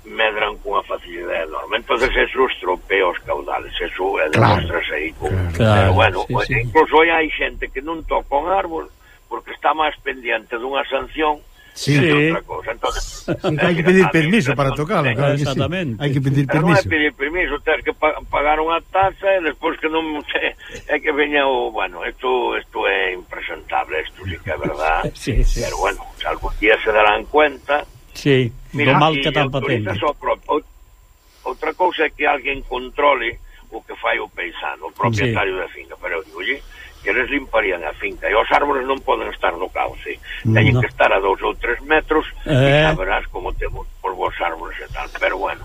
medran cunha facilidade enorme. Entonces eso estropea os caudales, eso é Claro. demostrase aí con... Claro. Claro, pero bueno, sí, pues, sí. incluso hoy hai xente que non toca un árbol porque está máis pendiente dunha sanción Sí. que Sí. de outra cosa. Entonces, Sí, hai que pedir permiso para tocalo, claro que sí. Exactamente. Hai que pedir Pero non é permiso. pedir permiso, ter que pa pagar unha taxa e despois que non é que veña o, bueno, isto isto é impresentable, isto sí que é verdad. Sí, sí. Pero bueno, se algún día se darán cuenta. Sí, do mal que están facendo. Outra cousa é que alguén controle o que fai o paisano, o propietario Sí. da finca, pero digo, oye, que eles limparían a finca e os árboles non poden estar no cauce, teñen No. que estar a dous ou tres metros Eh. e xa verás como temos por vos árboles e tal, pero bueno,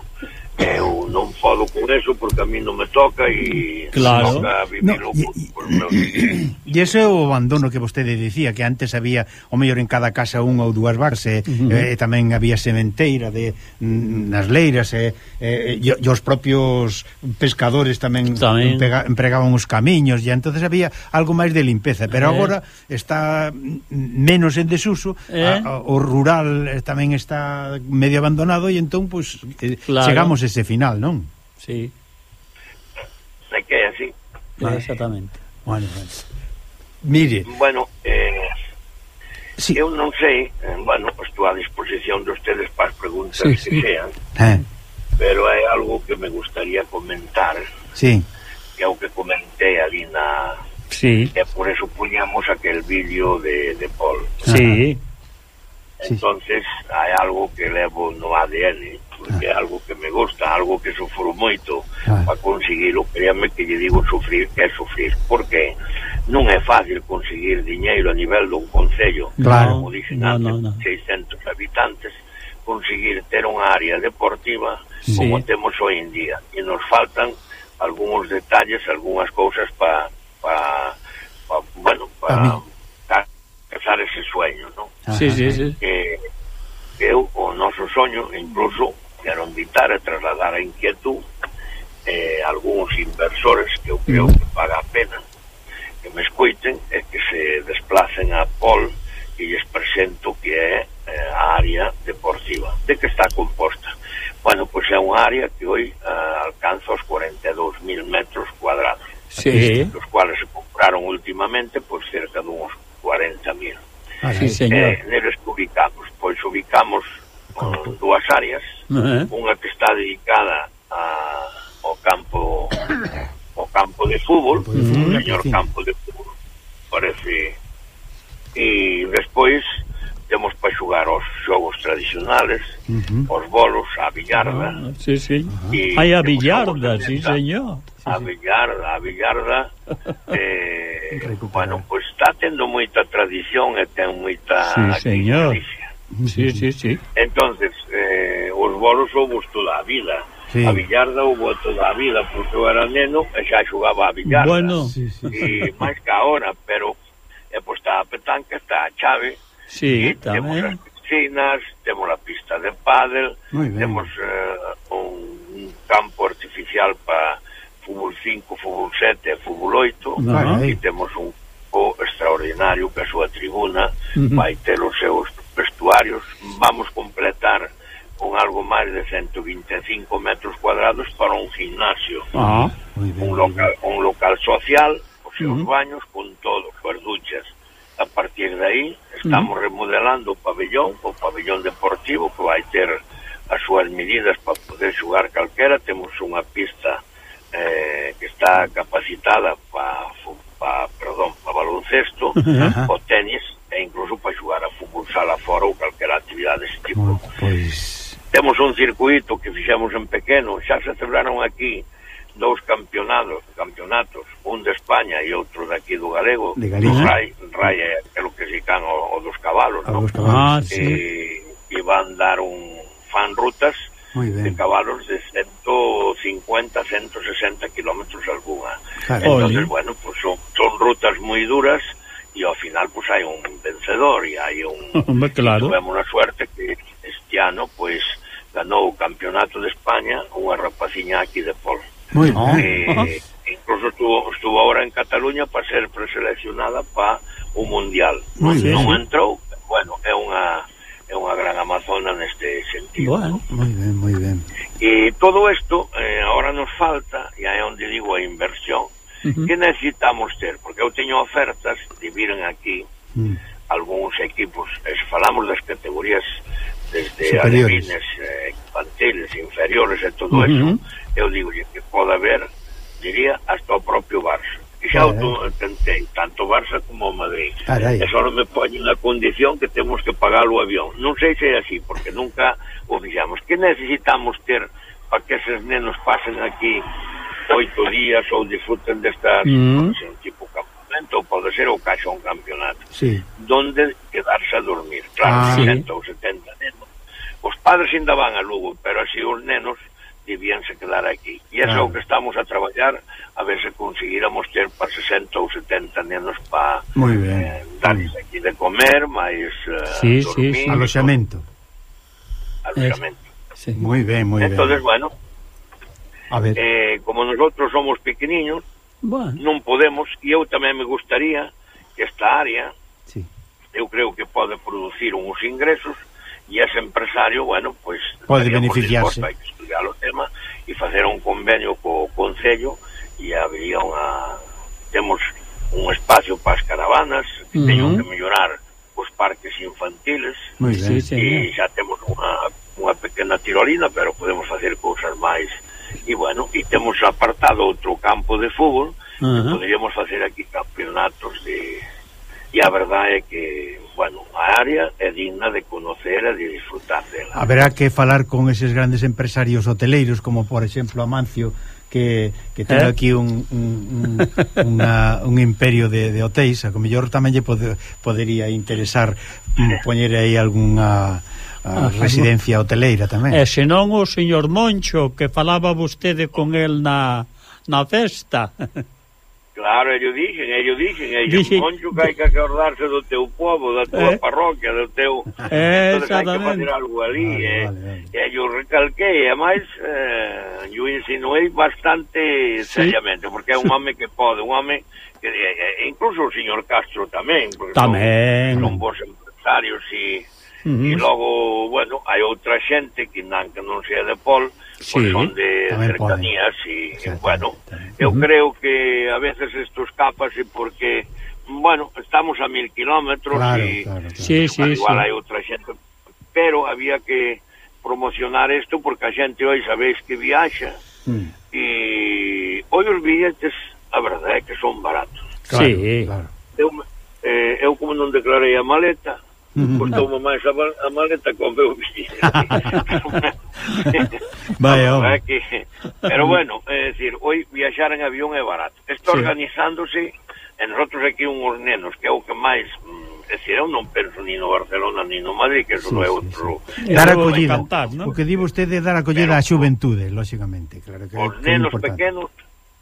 eu non podo con eso porque a mí non me toca e claro. toca vivirlo no, por, por meus fillos. E ese é o abandono que vostede dicía, que antes había o mellor en cada casa unha ou dúas vacas, e, uh-huh. e tamén había sementeira de mm, nas leiras, e, e, e, e os propios pescadores tamén, tamén. Empega, empregaban os camiños, e entonces había algo máis de limpeza, pero eh. agora está menos en desuso, eh. a, a, o rural tamén está medio abandonado, e entón pues, eh, claro. chegamos a ese final, non? Sí. É que é así. Vale. Exactamente. Bueno, bueno. Mire. Bueno, eh, sí. eu non sei, eh, bueno, estou a disposición de ustedes para as preguntas sí, que sí. sean, eh. pero hai algo que me gustaría comentar, sí. que é o que comentei ali na... Sí. E por eso puñamos aquel vídeo de, de Paul. Sí. Entonces, hai algo que levo no A D N, porque é algo que me gusta, algo que sufro moito ah. para conseguirlo. Créame que lle digo sufrir, que é sufrir, porque non é fácil conseguir diñeiro a nivel dun concello, claro. como dixen no, antes, no, no. seiscentos habitantes, conseguir ter unha área deportiva sí. como temos hoy en día, e nos faltan algúns detalles, algunhas cousas para pa, pa, bueno, para pa, casar ese sueño, non? Sí, sí, sí. Que, que eu, o noso soño, incluso quero invitar a trasladar a inquietud eh, algúns inversores que eu creo que paga a pena que me escuiten e que se desplacen a Pol e lles presento que é eh, a área deportiva. De que está composta? Bueno, pois é unha área que hoy uh, alcanza os cuarenta e dous mil metros cuadrados, sí. dos cuales se compraron últimamente por cerca de uns cuarenta mil. Ah, sí, señor. Eh, neles que ubicamos? Pois ubicamos uh, dúas áreas, uh-huh. unha que está dedicada a, ao campo ao campo de fútbol, uh-huh. o señor campo de fútbol, parece, e despois temos para xogar os xogos tradicionales, uh-huh. os bolos, a billarda. Ah, sí, sí. Uh-huh. Hai a billarda, sí, señor. A billarda, a billarda, eh, bueno, pois pues está tendo moita tradición e ten moita... Sí, señor. Sí, sí, sí. Entonces, eh, os bolos houve toda a vida. Sí. A billarda houve toda a vida, porque eu era neno e xa xogaba a billarda. Bueno. Sí, sí. E máis que ahora, pero é pois está a petanca, está a chave. Sí, e temos as piscinas, temos a pista de pádel, temos uh, un campo artificial para fútbol cinco, fútbol sete e fútbol oito, uh-huh. e temos un campo extraordinario que a súa tribuna uh-huh. vai ter os seus vestuarios. Vamos completar con algo máis de ciento vinte e cinco metros cuadrados para un gimnasio, uh-huh. un, local, un local social, os seus uh-huh. baños con todo, as duchas. A partir de aí estamos uh-huh. remodelando o pabellón, o pabellón deportivo, que vai ter as súas medidas para poder xogar calquera. Temos unha pista eh, que está capacitada para pa, perdón, pa baloncesto, uh-huh. o tenis, e incluso para xogar a fútbol sala fora ou calquera actividade desse tipo. Oh, pues... Temos un circuito que fixemos en pequeno, xa se celebraron aquí dous campeonatos, campeonatos, un de España e outro de aquí do Galego, de Galicia. Rai, Rai é o que se can o, o dos cabalos, ¿no? Ah, e, sí. e van dar un fan rutas de cabalos de ciento cincuenta, ciento sesenta kilómetros alguna. Claro. Entonces, bueno, pues son, son rutas moi duras e ao final pues hai un vencedor e hai un... Claro. Tuvemos a suerte que este ano pues ganou o campeonato de España unha rapaciña aquí de Pol. Muy bien. Eh, incluso estuvo, estuvo ahora en Cataluña para ser preseleccionada para un mundial. Muy non, bien. non entrou, bueno, é unha é unha gran amazona neste sentido. Bueno, ¿no? Moi ben, moi ben. E todo isto eh, ahora nos falta, e aí onde digo a inversión, uh-huh. que necesitamos ter, porque eu teño ofertas de viren aquí uh-huh. algúns equipos, e se falamos das categorías desde alevines, eh, infantiles, inferiores e todo uh-huh. eso, eu digo que pode haber, diría, hasta o propio Barça. E xa o tentei, tanto Barça como o Madrid. Carai. E só non me poñen a condición que temos que pagar o avión. Non sei se é así, porque nunca o fixamos. Que necesitamos ter para que eses nenos pasen aquí oito días ou disfruten destas mm. un tipo campamento, ou pode ser o caixo un campeonato. Sí. Donde quedarse a dormir. Claro, ah, sesenta sí. ou setenta nenos. Os padres ainda van a Lugo, pero así os nenos debíanse quedar aquí. E eso é o que estamos a traballar, a ver se conseguíramos ter para sesenta ou setenta nenos para eh, darles aquí de comer, máis eh, sí, dormir. Sí, sí. Aloxamento. Aloxamento. Sí. Moi ben, moi ben. Entonces, bueno, a ver. Eh, como nosotros somos pequeniños, bueno, non podemos, e eu tamén me gustaría que esta área, sí, eu creo que pode producir uns ingresos, e ese empresario, bueno, pues pode beneficiarse. Hai que estudiar o tema e facer un convenio co Concello, e habría unha... temos un espacio para as caravanas, que uh -huh. teño que mellorar os parques infantiles, moi ben, sí, e xa temos unha, unha pequena tirolina, pero podemos facer cousas máis. E bueno, e temos apartado outro campo de fútbol, uh -huh. poderíamos facer aquí campeonatos de... E a verdade é que, bueno, a área é digna de conocer e de disfrutar dela. Haberá que falar con eses grandes empresarios hoteleiros, como por exemplo Amancio, que, que ten eh? aquí un, un, un, una, un imperio de, de hotéis, a que mellor tamén lle pode, podería interesar mm, poñer aí algunha a residencia hoteleira tamén. E senón o señor Moncho, que falaba vostede con el na, na festa. Claro, ellos dixen, ellos dixen, ellos dixen, Moncho, que hai que acordarse do teu povo, da tua eh, parroquia, do teu... Eh, entonces hai que facer algo ali, vale, eh, vale, vale. E eu recalquei, e máis, eh, eu insinuei bastante sí. seriamente, porque é un home que pode, un home que, eh, incluso o señor Castro tamén, porque tamén. Son, son bons empresarios e... Uh -huh. E logo, bueno, hai outra xente que non, que non sea de Pol, sí, pois son de cercanías e, e, bueno, eu uh -huh. creo que a veces estos capas e porque, bueno, estamos a mil kilómetros claro, e claro, claro. Sí, sí, igual sí. hai outra xente, pero había que promocionar isto porque a xente hoy sabéis que viaxa mm. e hoy os billetes, a verdade é que son baratos. Claro, sí, claro. Eu, eh, eu como non declarei a maleta, costoume máis a, a maleta con meu billete. Vaya, no, que, pero bueno, é dicir, hoy viaxar en avión é barato. Está sí. organizándose, e nosotros aquí unhos nenos, que é o que máis, é dicir, eu non penso ni no Barcelona ni no Madrid, que eso sí, non é outro. Sí, sí. Dar acollida, cantar, ¿no? O que di vostede é dar acollida á xuventude, lógicamente, claro que os é nenos importante. Pequenos,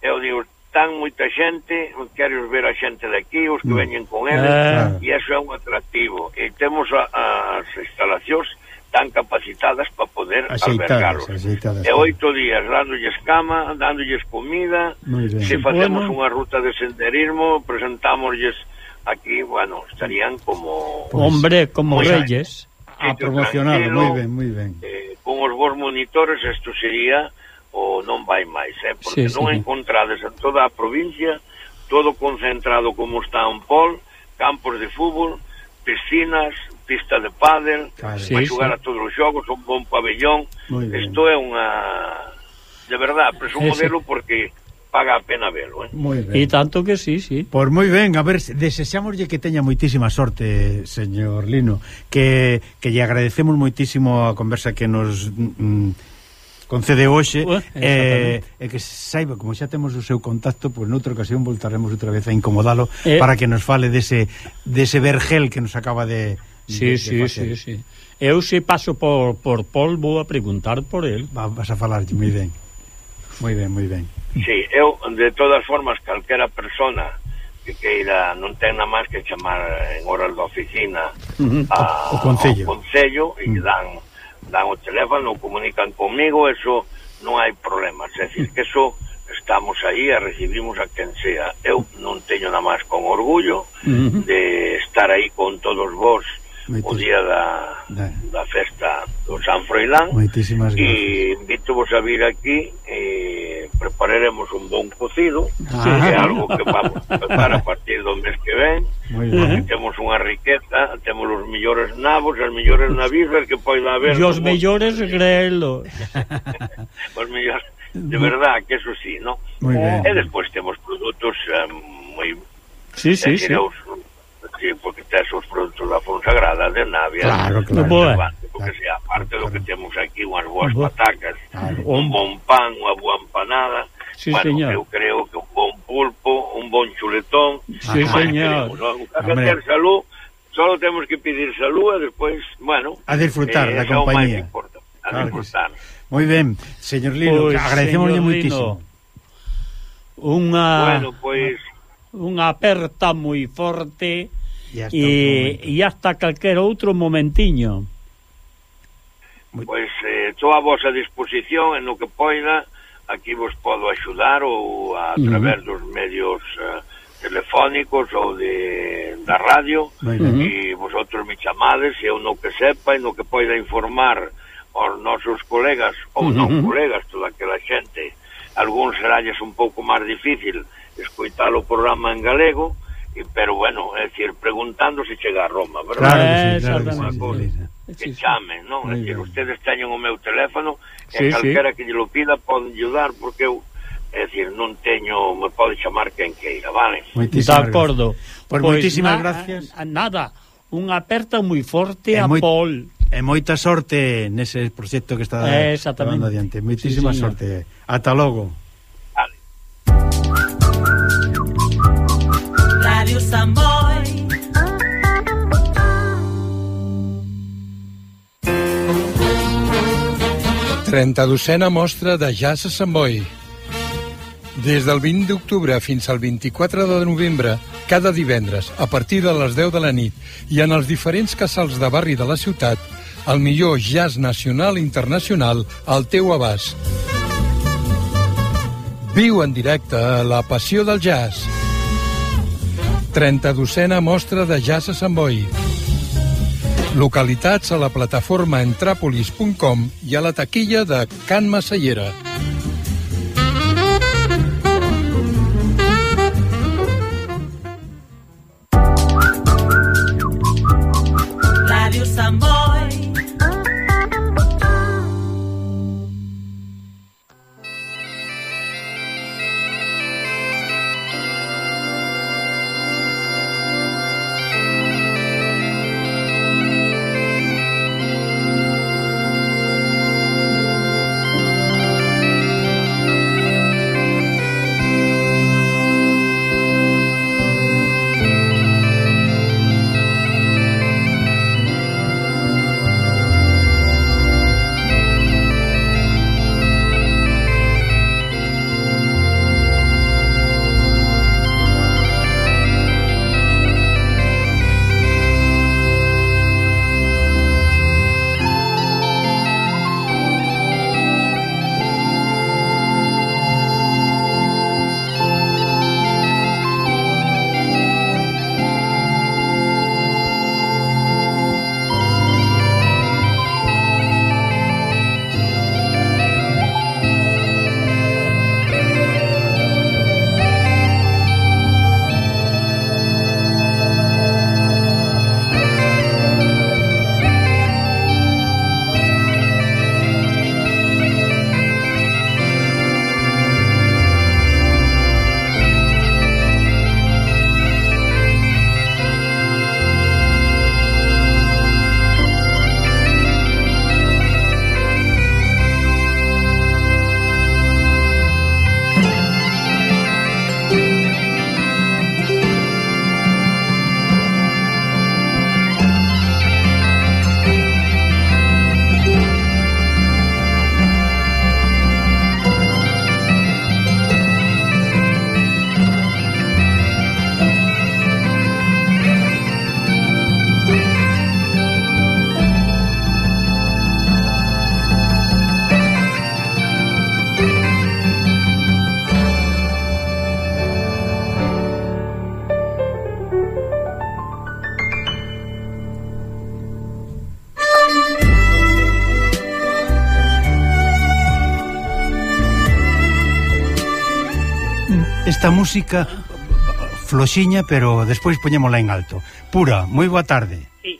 eu digo, tan moita xente, queres ver a xente de aquí, os que mm. veñen con eles, ah. e iso é un atractivo. E temos a, as instalacións tan capacitadas para poder albergarlos. E oito días dándolles cama, dándolles comida, se facemos bueno. unha ruta de senderismo, presentámosles aquí, bueno, estarían como... Pues, hombre, como reyes. A promocionar, moi ben, moi ben. Eh, con os vos monitores, isto sería... o non vai máis, eh? Porque sí, non sí. encontrades en toda a provincia todo concentrado como está en Pol, campos de fútbol, piscinas, pista de pádel, claro, vai sí, xogar sí. a todos os xogos, un bon pabellón. Isto é unha... de verdad, presumo verlo porque paga a pena verlo, eh? E tanto que sí, sí. Pois moi ben, a ver, desexámoslle que teña moitísima sorte, señor Lino, que, que lle agradecemos moitísimo a conversa que nos... Mm, concede hoxe uh, e eh, que saiba, como xa temos o seu contacto, pois pues, noutra ocasión voltaremos outra vez a incomodalo eh. para que nos fale dese, dese vergel que nos acaba de, sí, de, sí, de facer. Sí, sí. Eu se paso por, por Pol vou a preguntar por el. Va, vas a falar moi ben. Moi ben, moi ben. Sí, eu, de todas formas, calquera persona que queira, non ten nada máis que chamar en horas da oficina uh -huh. a, o, o Concello, ao Concello e uh -huh. dan dan o teléfono, comunican comigo, eso non hai problemas, é dicir, que eso estamos aí e recibimos a quen sea. Eu non teño nada máis con orgullo uh -huh. de estar aí con todos vos o día da, da festa do San Froilán e invito-vos a vir aquí e prepararemos un bon cocido ah, que é algo que vamos a empezar a partir do mes que ven porque temos unha riqueza, temos os millores nabos, as millores navíferas que poida haber e os millores grelos os millores, de verdad que eso sí, ¿no? E despois temos produtos um, moi sí, sí, sí. Os, sí, porque tes os produtos da Fonsagrada, de Navia, claro, claro, claro, porque claro, sea, aparte claro. do que temos aquí unhas boas patacas, claro. un bon pan, unha boa empanada, sí, bueno, señor. eu creo que un bon pulpo, un bon chuletón, sí, señor. Queremos, ¿no? A ter salud, solo temos que pedir salud e despois, bueno, a disfrutar eh, da compañía. A claro disfrutar. Moi ben, señor Lino, Pois, agradecemoslle señor moitísimo. Unha Bueno, pois unha aperta moi forte E hasta e, e hasta calquer outro momentiño. Pois eh, estou a vosa disposición en no que poida, aquí vos podo axudar ou a través dos medios uh, telefónicos ou de da radio, e vosotros me chamades e eu no que sepa e no que poida informar aos nosos colegas ou non colegas, toda aquela xente. Algúns seralles un pouco máis difícil escoitar o programa en galego, e, pero bueno, é dicir, preguntando se chega a Roma, verdad? Claro que sí, claro que Exactamente. sí. Que chamen, non? É dicir, ustedes teñen o meu teléfono Sí, e calquera que lle lo pida poden ayudar, porque eu, é dicir, non teño, me pode chamar quen queira, vale? De acordo. Pois moitísimas gracias. Nada, unha aperta moi forte E a moi- Paul. E moita sorte nese proxecto que está Eh, exactamente. levando adiante. Moitísima Sí, señor. sorte. Ata logo. Radio Samboy. trenta-dosena mostra de jazz a Sant Boi. Des del vint d'octubre fins al vint-i-quatre de novembre, cada divendres, a partir de les deu de la nit, i en els diferents casals de barri de la ciutat, el millor jazz nacional i internacional al teu abast. Viu en directe la passió del jazz. trenta-dosena mostra de jazz a Sant Boi. Localitats a la plataforma entrapolis punt com i a la taquilla de Can Massallera. Radio Samboy. Esta música floxiña, pero despois poñémola en alto. Pura, moi boa tarde. Sí.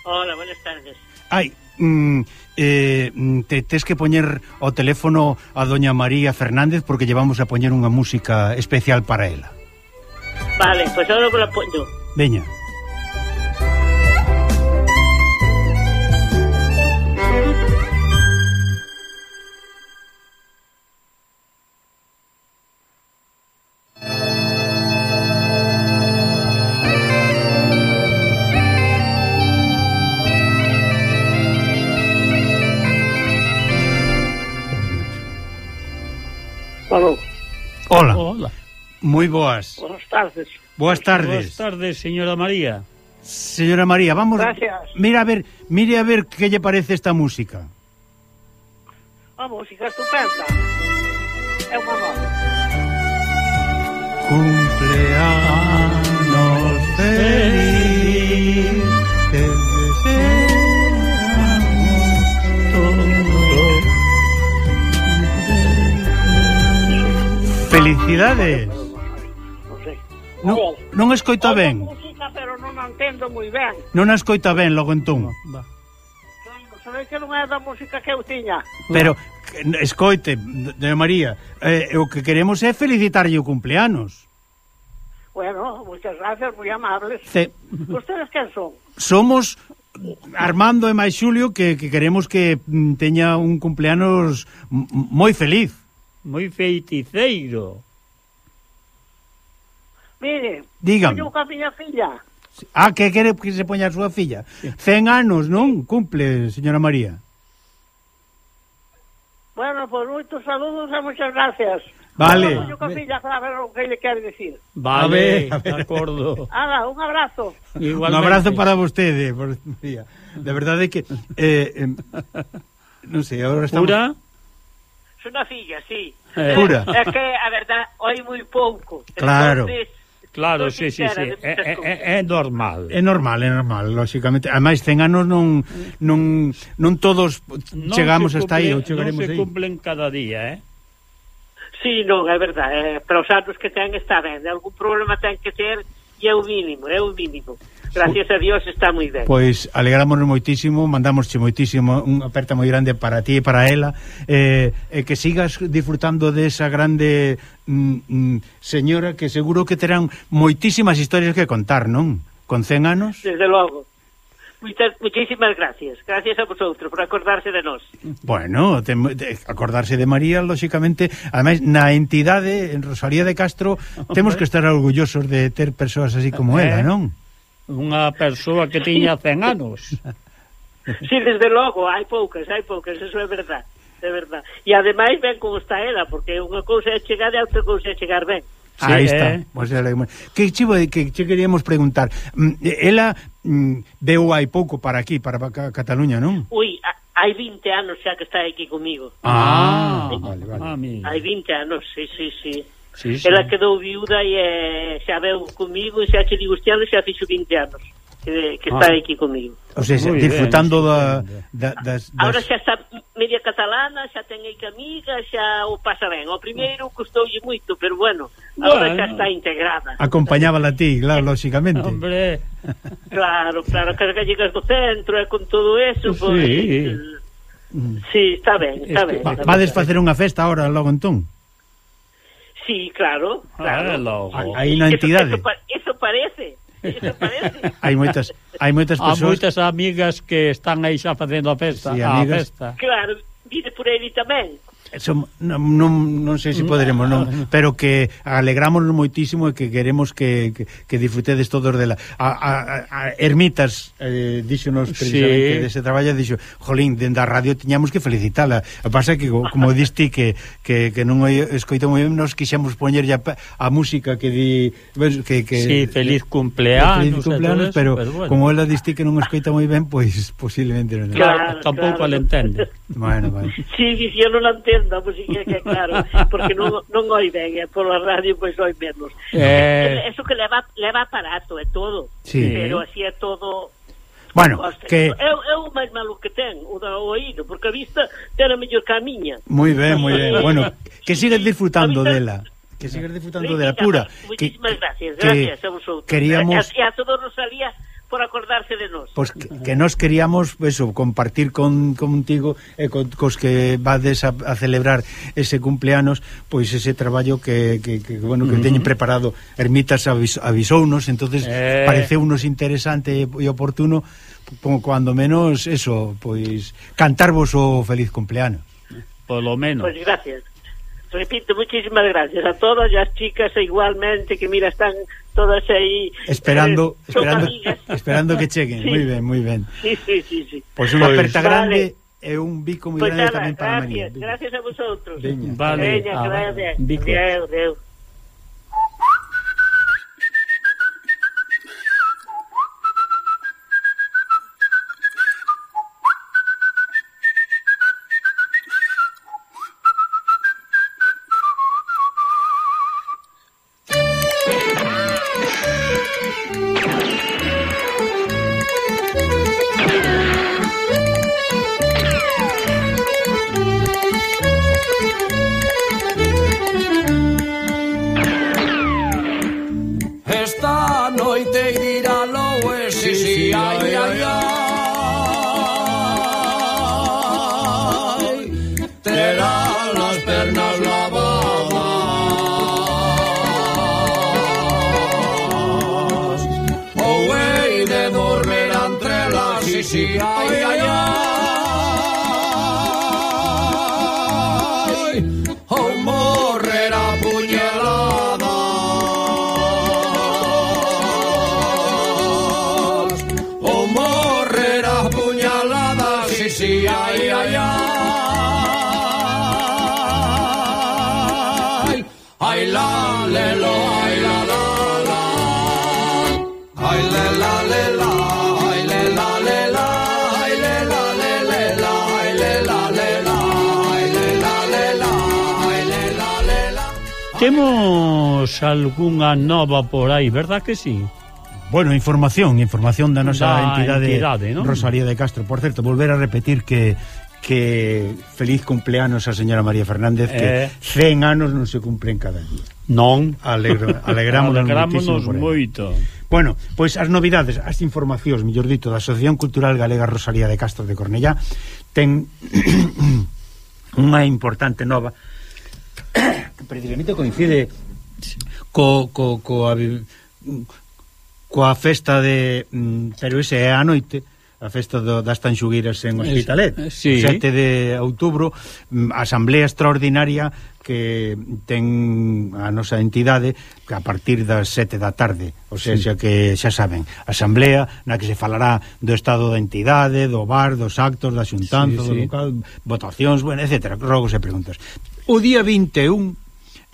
Hola, buenas tardes. Ai, mm, eh, te tes que poñer o teléfono a doña María Fernández porque llevamos a poñer unha música especial para ela. Vale, pues ahora la pongo. Veña. Aló. Hola. Hola. Moi boas. Buenas tardes. Boas tardes. Boas tardes, señora María. Señora María, vamos... Gracias. Mira a ver, mire a ver que lle parece esta música. A música estupenda. É unha nova. Cumpleanos feliz, te deseamos. Felicidades. Non sei. Non, non escoita ben. Música, pero non a entendo moi ben. Non a escoita ben logo entón. Va. Sabes que non é da música que eu tiña. Pero escoite, doña María, eh, o que queremos é felicitarlle o cumpleanos. Bueno, muchas gracias, moi amables. Ce... Ustedes quen son? Somos Armando e máis Xulio que, que queremos que mm, teña un cumpleanos m- moi feliz. Moi feiticeiro. Mire, Dígame. teño ca miña filla. Ah, que quere que se poña a súa filla? Cen anos, non? Cumple, señora María. Bueno, pues moitos saludos e muchas gracias. Vale. Teño ca filla para ver o que lle quere decir. Vale, A ver, a ver. de acordo. Ala, un abrazo. Igualmente. Un abrazo para vostede, por María. De verdade que eh, eh, non sei, agora estamos... Pura? Es unha filla, sí. Eh. Pura. É que, a verdad, oi moi pouco. Claro. Entonces, Claro, non sí, sí, sincera sí. de É, muchas é, cousas. é normal. É normal, é normal, lógicamente. Ademais, cen anos non non non todos Non chegamos se hasta aí, ou cumple- chegaremos non se aí. cumplen cada día, eh? Sí, non, é verdade. Eh, para os anos que ten está ben. Algún problema ten que ter e é o mínimo, é o mínimo. Gracias a Dios está moi ben. Pois alegramos moitísimo, mandamosche moitísimo unha aperta moi grande para ti e para ela, eh, e que sigas disfrutando desa grande mm, mm, señora que seguro que terán moitísimas historias que contar, non? Con cen anos. Desde logo. Muchas, muchísimas gracias. Gracias a vosotros por acordarse de nós. Bueno, te, de, acordarse de María, lógicamente, ademais na entidade en Rosalía de Castro temos que estar orgullosos de ter persoas así como Eh. ela, non? Unha persoa que tiña cen anos. Sí, desde logo, hai poucas, hai poucas, eso é verdad. É verdad. E ademais ben como está ela, porque unha cousa é chegar e outra cousa é chegar ben. Sí, Aí eh. está. Pues, que chivo que che queríamos preguntar. Mm, ela mm, veu hai pouco para aquí, para Cataluña, non? Ui, a- hai vinte anos xa que está aquí comigo. Ah, vale, vale. Ah, mira. Hai vinte anos, sí, sí, sí. Sí, sí. Ela quedou viuda e eh, xa veu comigo e xa che digo este ano xa fixo vinte anos que, que está Ah. aquí comigo. O sea, Muy disfrutando bien, da, estupendo. da, das, das... Ahora xa está media catalana, xa ten aí que amiga, xa o pasa ben. O primeiro custoulle moito, pero bueno, agora Bueno. xa está integrada. acompañábala a ti, claro, lógicamente. Hombre, Claro, claro, que as gallegas do centro e con todo eso, pues, Sí. eh, sí, está ben, está ben. Va, está ben. vades facer unha festa ahora logo entón? Sí, claro, claro. ah, logo. Aí na entidade. Eso, eso, pa- eso parece, eso parece. Hai moitas hai moitas Há persoas. moitas amigas que están aí xa facendo a festa, Sí, a amigas. festa. Claro, vide por ele tamén. Som, non, non, non sei se poderemos, non, pero que alegramos moitísimo e que queremos que, que, que disfrutedes todos dela. A, a, a Ermitas eh, díxonos precisamente Sí. dese traballo, dixo, jolín, dende a radio tiñamos que felicitala. A pasa que, como diste que, que, que non escoito moi ben, nos quixemos poñer ya a música que di que, que Sí, feliz cumpleanos, feliz cumpleanos, e todo eso, pero, pero bueno. como ela diste que non escoita moi ben, pois posiblemente non. Claro, tampouco claro. le entende. Bueno, vale. Sí, sí, yo non la entendo, a música que claro, porque non, non oi ben, e pola radio pois oi menos. Eh. Eso que leva, leva aparato e todo, Sí. pero así é todo. Bueno, Costa. que É, é o máis malo que ten, o da oído, porque a vista ten a mellor que a miña. moi ben, moi ben. Bueno, que sigas Sí, disfrutando a mí dela. Que sigas disfrutando Sí, dela pura. Que, Muchísimas gracias, que gracias a vosotros. queríamos- E a, e a todo Rosalía por acordarse de nós. Pues que, que nos queríamos eso, compartir con contigo e con, cos que vades a, a celebrar ese cumpleanos, pois ese traballo que, que, que bueno, que uh -huh. teñen preparado. Ermitas avis, avisounos, entonces Eh. pareceunos interesante e oportuno, como cuando menos eso, pois cantarvos o feliz cumpleanos. Polo menos. Pues gracias. Repito, muchísimas gracias a todas e as chicas e igualmente que mira están todas aí Esperando, eh, son esperando, amigas. esperando que cheguen. Sí. Muy ben, muy ben. Sí, sí, sí, sí. Pois unha Pois, aperta vale. grande e un bico moi Pois grande nada, tamén para María. gracias, gracias a vosotros. Veña. Vale. Veña, Ah, gracias. bico. Adeu, adeu. Esta noite irá loe, si, si, ai, ai, ai. Terá las pernas lavadas, ou hei de dormir entre las, si, si, ai, ai, ai. Ou morrer a puñalada, ou morrer a puñalada, si, si, ai, ai, ai. Ai, la, le, lo, ai, la, la, la. Ai, le, la, le, la. Ai, le, la, le, la. Ai, le, la, le, le, la. Ai, le, la, le, la. Ai, le, la, le, la. Ai, le, la, le, la. Temos algunha nova por aí, verdad que sí? Bueno, información, información da nosa Da entidade, entidade, ¿no? Rosalía de Castro. Por certo, volver a repetir que que feliz cumpleanos a señora María Fernández, que Eh. cen anos non se cumplen cada día. Non. Alegro, alegramos Alegrámonos moito. Bueno, pois as novidades, as informacións, mellor dito, da Asociación Cultural Galega Rosalía de Castro de Cornellá ten unha importante nova que precisamente coincide co, co, co a, coa festa de pero ese é a noite, a festa do, das Tanxugueiras en Hospitalet, sí. sete de outubro, asamblea extraordinaria que ten a nosa entidade que a partir das sete da tarde, ou sea, sí. que xa saben, asamblea na que se falará do estado da entidade, do bar, dos actos, da xuntanza, sí, do sí. local, votacións, bueno, etcétera, rogos e preguntas. O día vinte e un,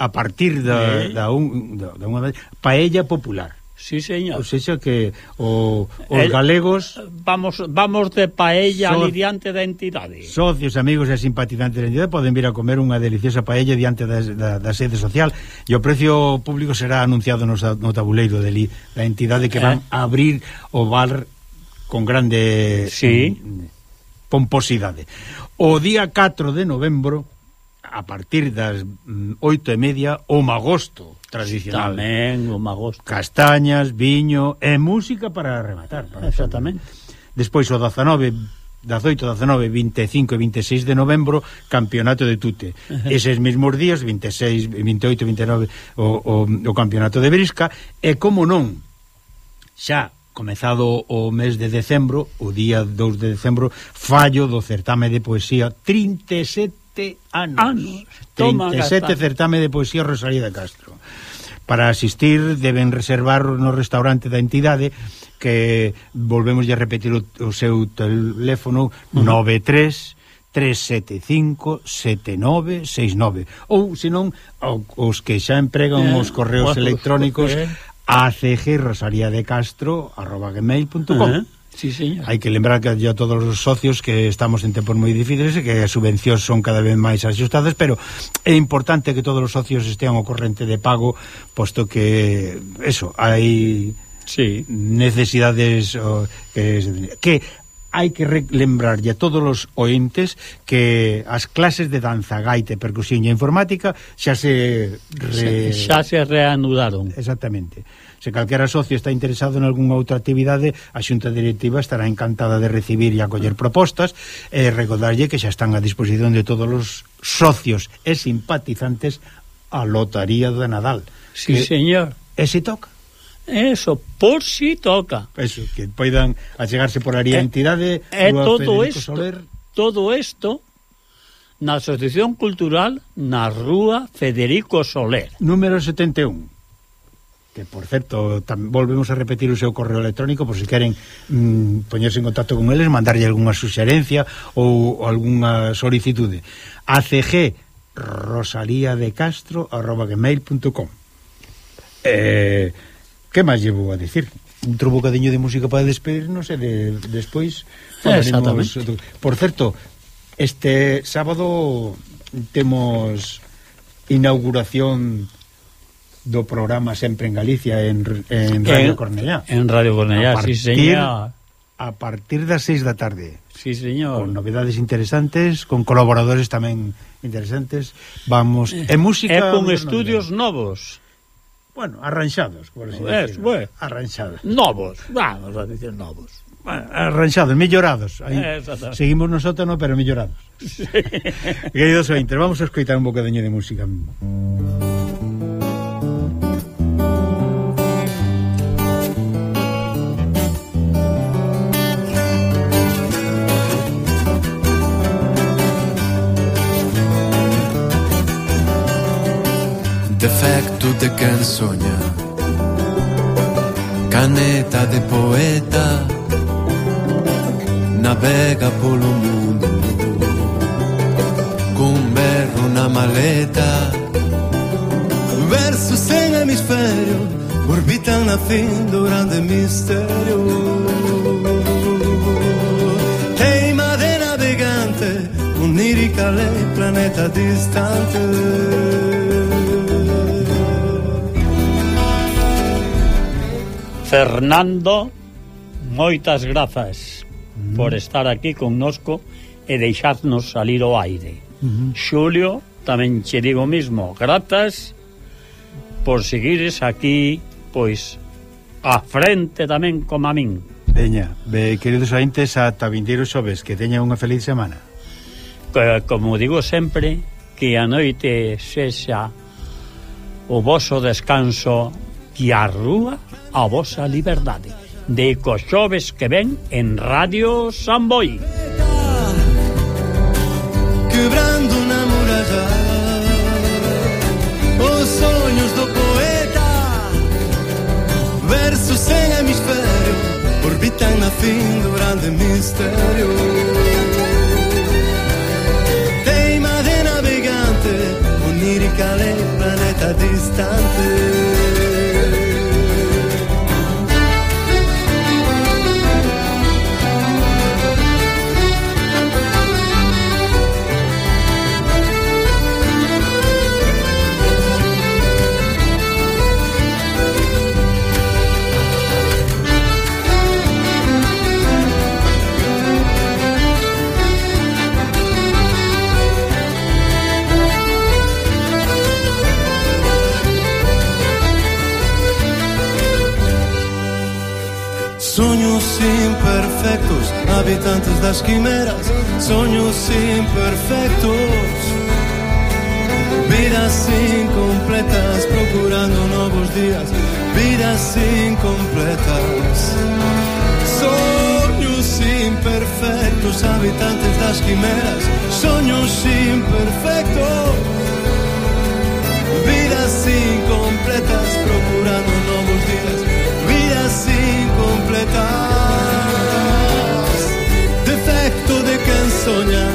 a partir da, eh. da, un, da, da unha paella popular. Sí, señor. Ou seja que o, os El, galegos vamos vamos de paella so, ali diante da entidade. Socios, amigos e simpatizantes da entidade poden vir a comer unha deliciosa paella diante da, da, da sede social, e o precio público será anunciado no, no tabuleiro de li, da entidade que van a abrir o bar con grande sí. pomposidade. O día catro de novembro, a partir das oito e media, o magosto tradicional. Tamén o magosto. Castañas, viño e música para rematar. Para Exactamente. Despois o dezanove, dezoito, dezanove, vinte e cinco e vinte e seis de novembro, campeonato de tute. Uh-huh. Eses mesmos días, vinte e seis, vinte e oito, vinte e nove, o, o, o campeonato de brisca. E como non, xa comezado o mes de decembro, o día dous de decembro, fallo do certame de poesía, trinta e sete anos. anos. Toma, trinta e sete certame de poesía Rosalía de Castro. Para asistir deben reservar no restaurante da entidade, que volvemos a repetir o, o seu teléfono, uh-huh. nove tres tres sete cinco sete nove seis nove, ou senón os que xa empregan eh, os correos bueno, electrónicos eh. a c g rosalía de castro arroba gmail punto com. Uh-huh. Sí, señor. Hai que lembrar que a todos os socios que estamos en tempos moi difíciles e que as subvencións son cada vez máis axustadas, pero é importante que todos os socios estean ao corrente de pago, posto que eso, hai sí. necesidades o, que, que hai que lembrarlle a todos os ointes que as clases de danza, gaita, percusión e informática xa se re... xa se reanudaron. Exactamente. Se calquera socio está interesado en algunha outra actividade, a xunta directiva estará encantada de recibir e acoller propostas, e recordarlle que xa están a disposición de todos os socios e simpatizantes a lotaría de Nadal. Sí, que, señor. E se toca? Eso, por si toca. Eso, que poidan achegarse por ali a entidade. E todo isto, todo isto na Asociación Cultural na Rúa Federico Soler. Número setenta e un. que por certo tam, volvemos a repetir o seu correo electrónico por se si queren mm, poñerse en contacto con eles, mandarlle algunha suxerencia ou, ou algunha solicitude. A C G rosalía de castro arroba gmail punto com. Eh, que máis llevo a dicir? Outro bocadiño de música para despedirnos e de, despois falaremos. Por certo, este sábado temos inauguración do programa Sempre en Galicia en, en Radio en, Cornellá. En Radio Cornellá, sí, señor. A partir das seis da tarde. Sí, señor. Con novedades interesantes, con colaboradores tamén interesantes. Vamos, e música... E con estudios novos. Bueno, arranxados, por así es, decirlo. Bueno. Arranxados. Novos, vamos a decir novos. Bueno, arranxados, mellorados. Aí seguimos no sótano, pero mellorados. Sí. Queridos ointes, vamos a escoitar un bocadeño de música. Defecto de quen soña, caneta de poeta, navega polo mundo, cun berro na maleta. Versos sen hemisferio orbitan na fin do grande misterio. Teima de navegante, unírica lei, planeta distante. Fernando, moitas grazas mm. por estar aquí connosco e deixarnos salir ao aire. Mm-hmm. Xulio, tamén che digo mismo, grazas por seguires aquí, pois, a frente tamén como a min. Veña, be, queridos ointes, ata vindeiro xoves, que teña unha feliz semana. Que, como digo sempre, que a noite sexa o voso descanso e a rúa a vosa liberdade. De coxoves que ven en Radio Samboy. Quebrando na muralla os sonhos do poeta, versos sen hemisferio orbitan na fin do grande misterio. Teima de navegante, onírica lei, planeta distante. Sonhos imperfectos, habitantes das quimeras, sonhos imperfectos, vidas incompletas, procurando novos días, vidas incompletas. Sonhos imperfectos, habitantes das quimeras, sonhos imperfectos, vidas incompletas, procurando novos días, vidas incompletas. Defecto de quen soña,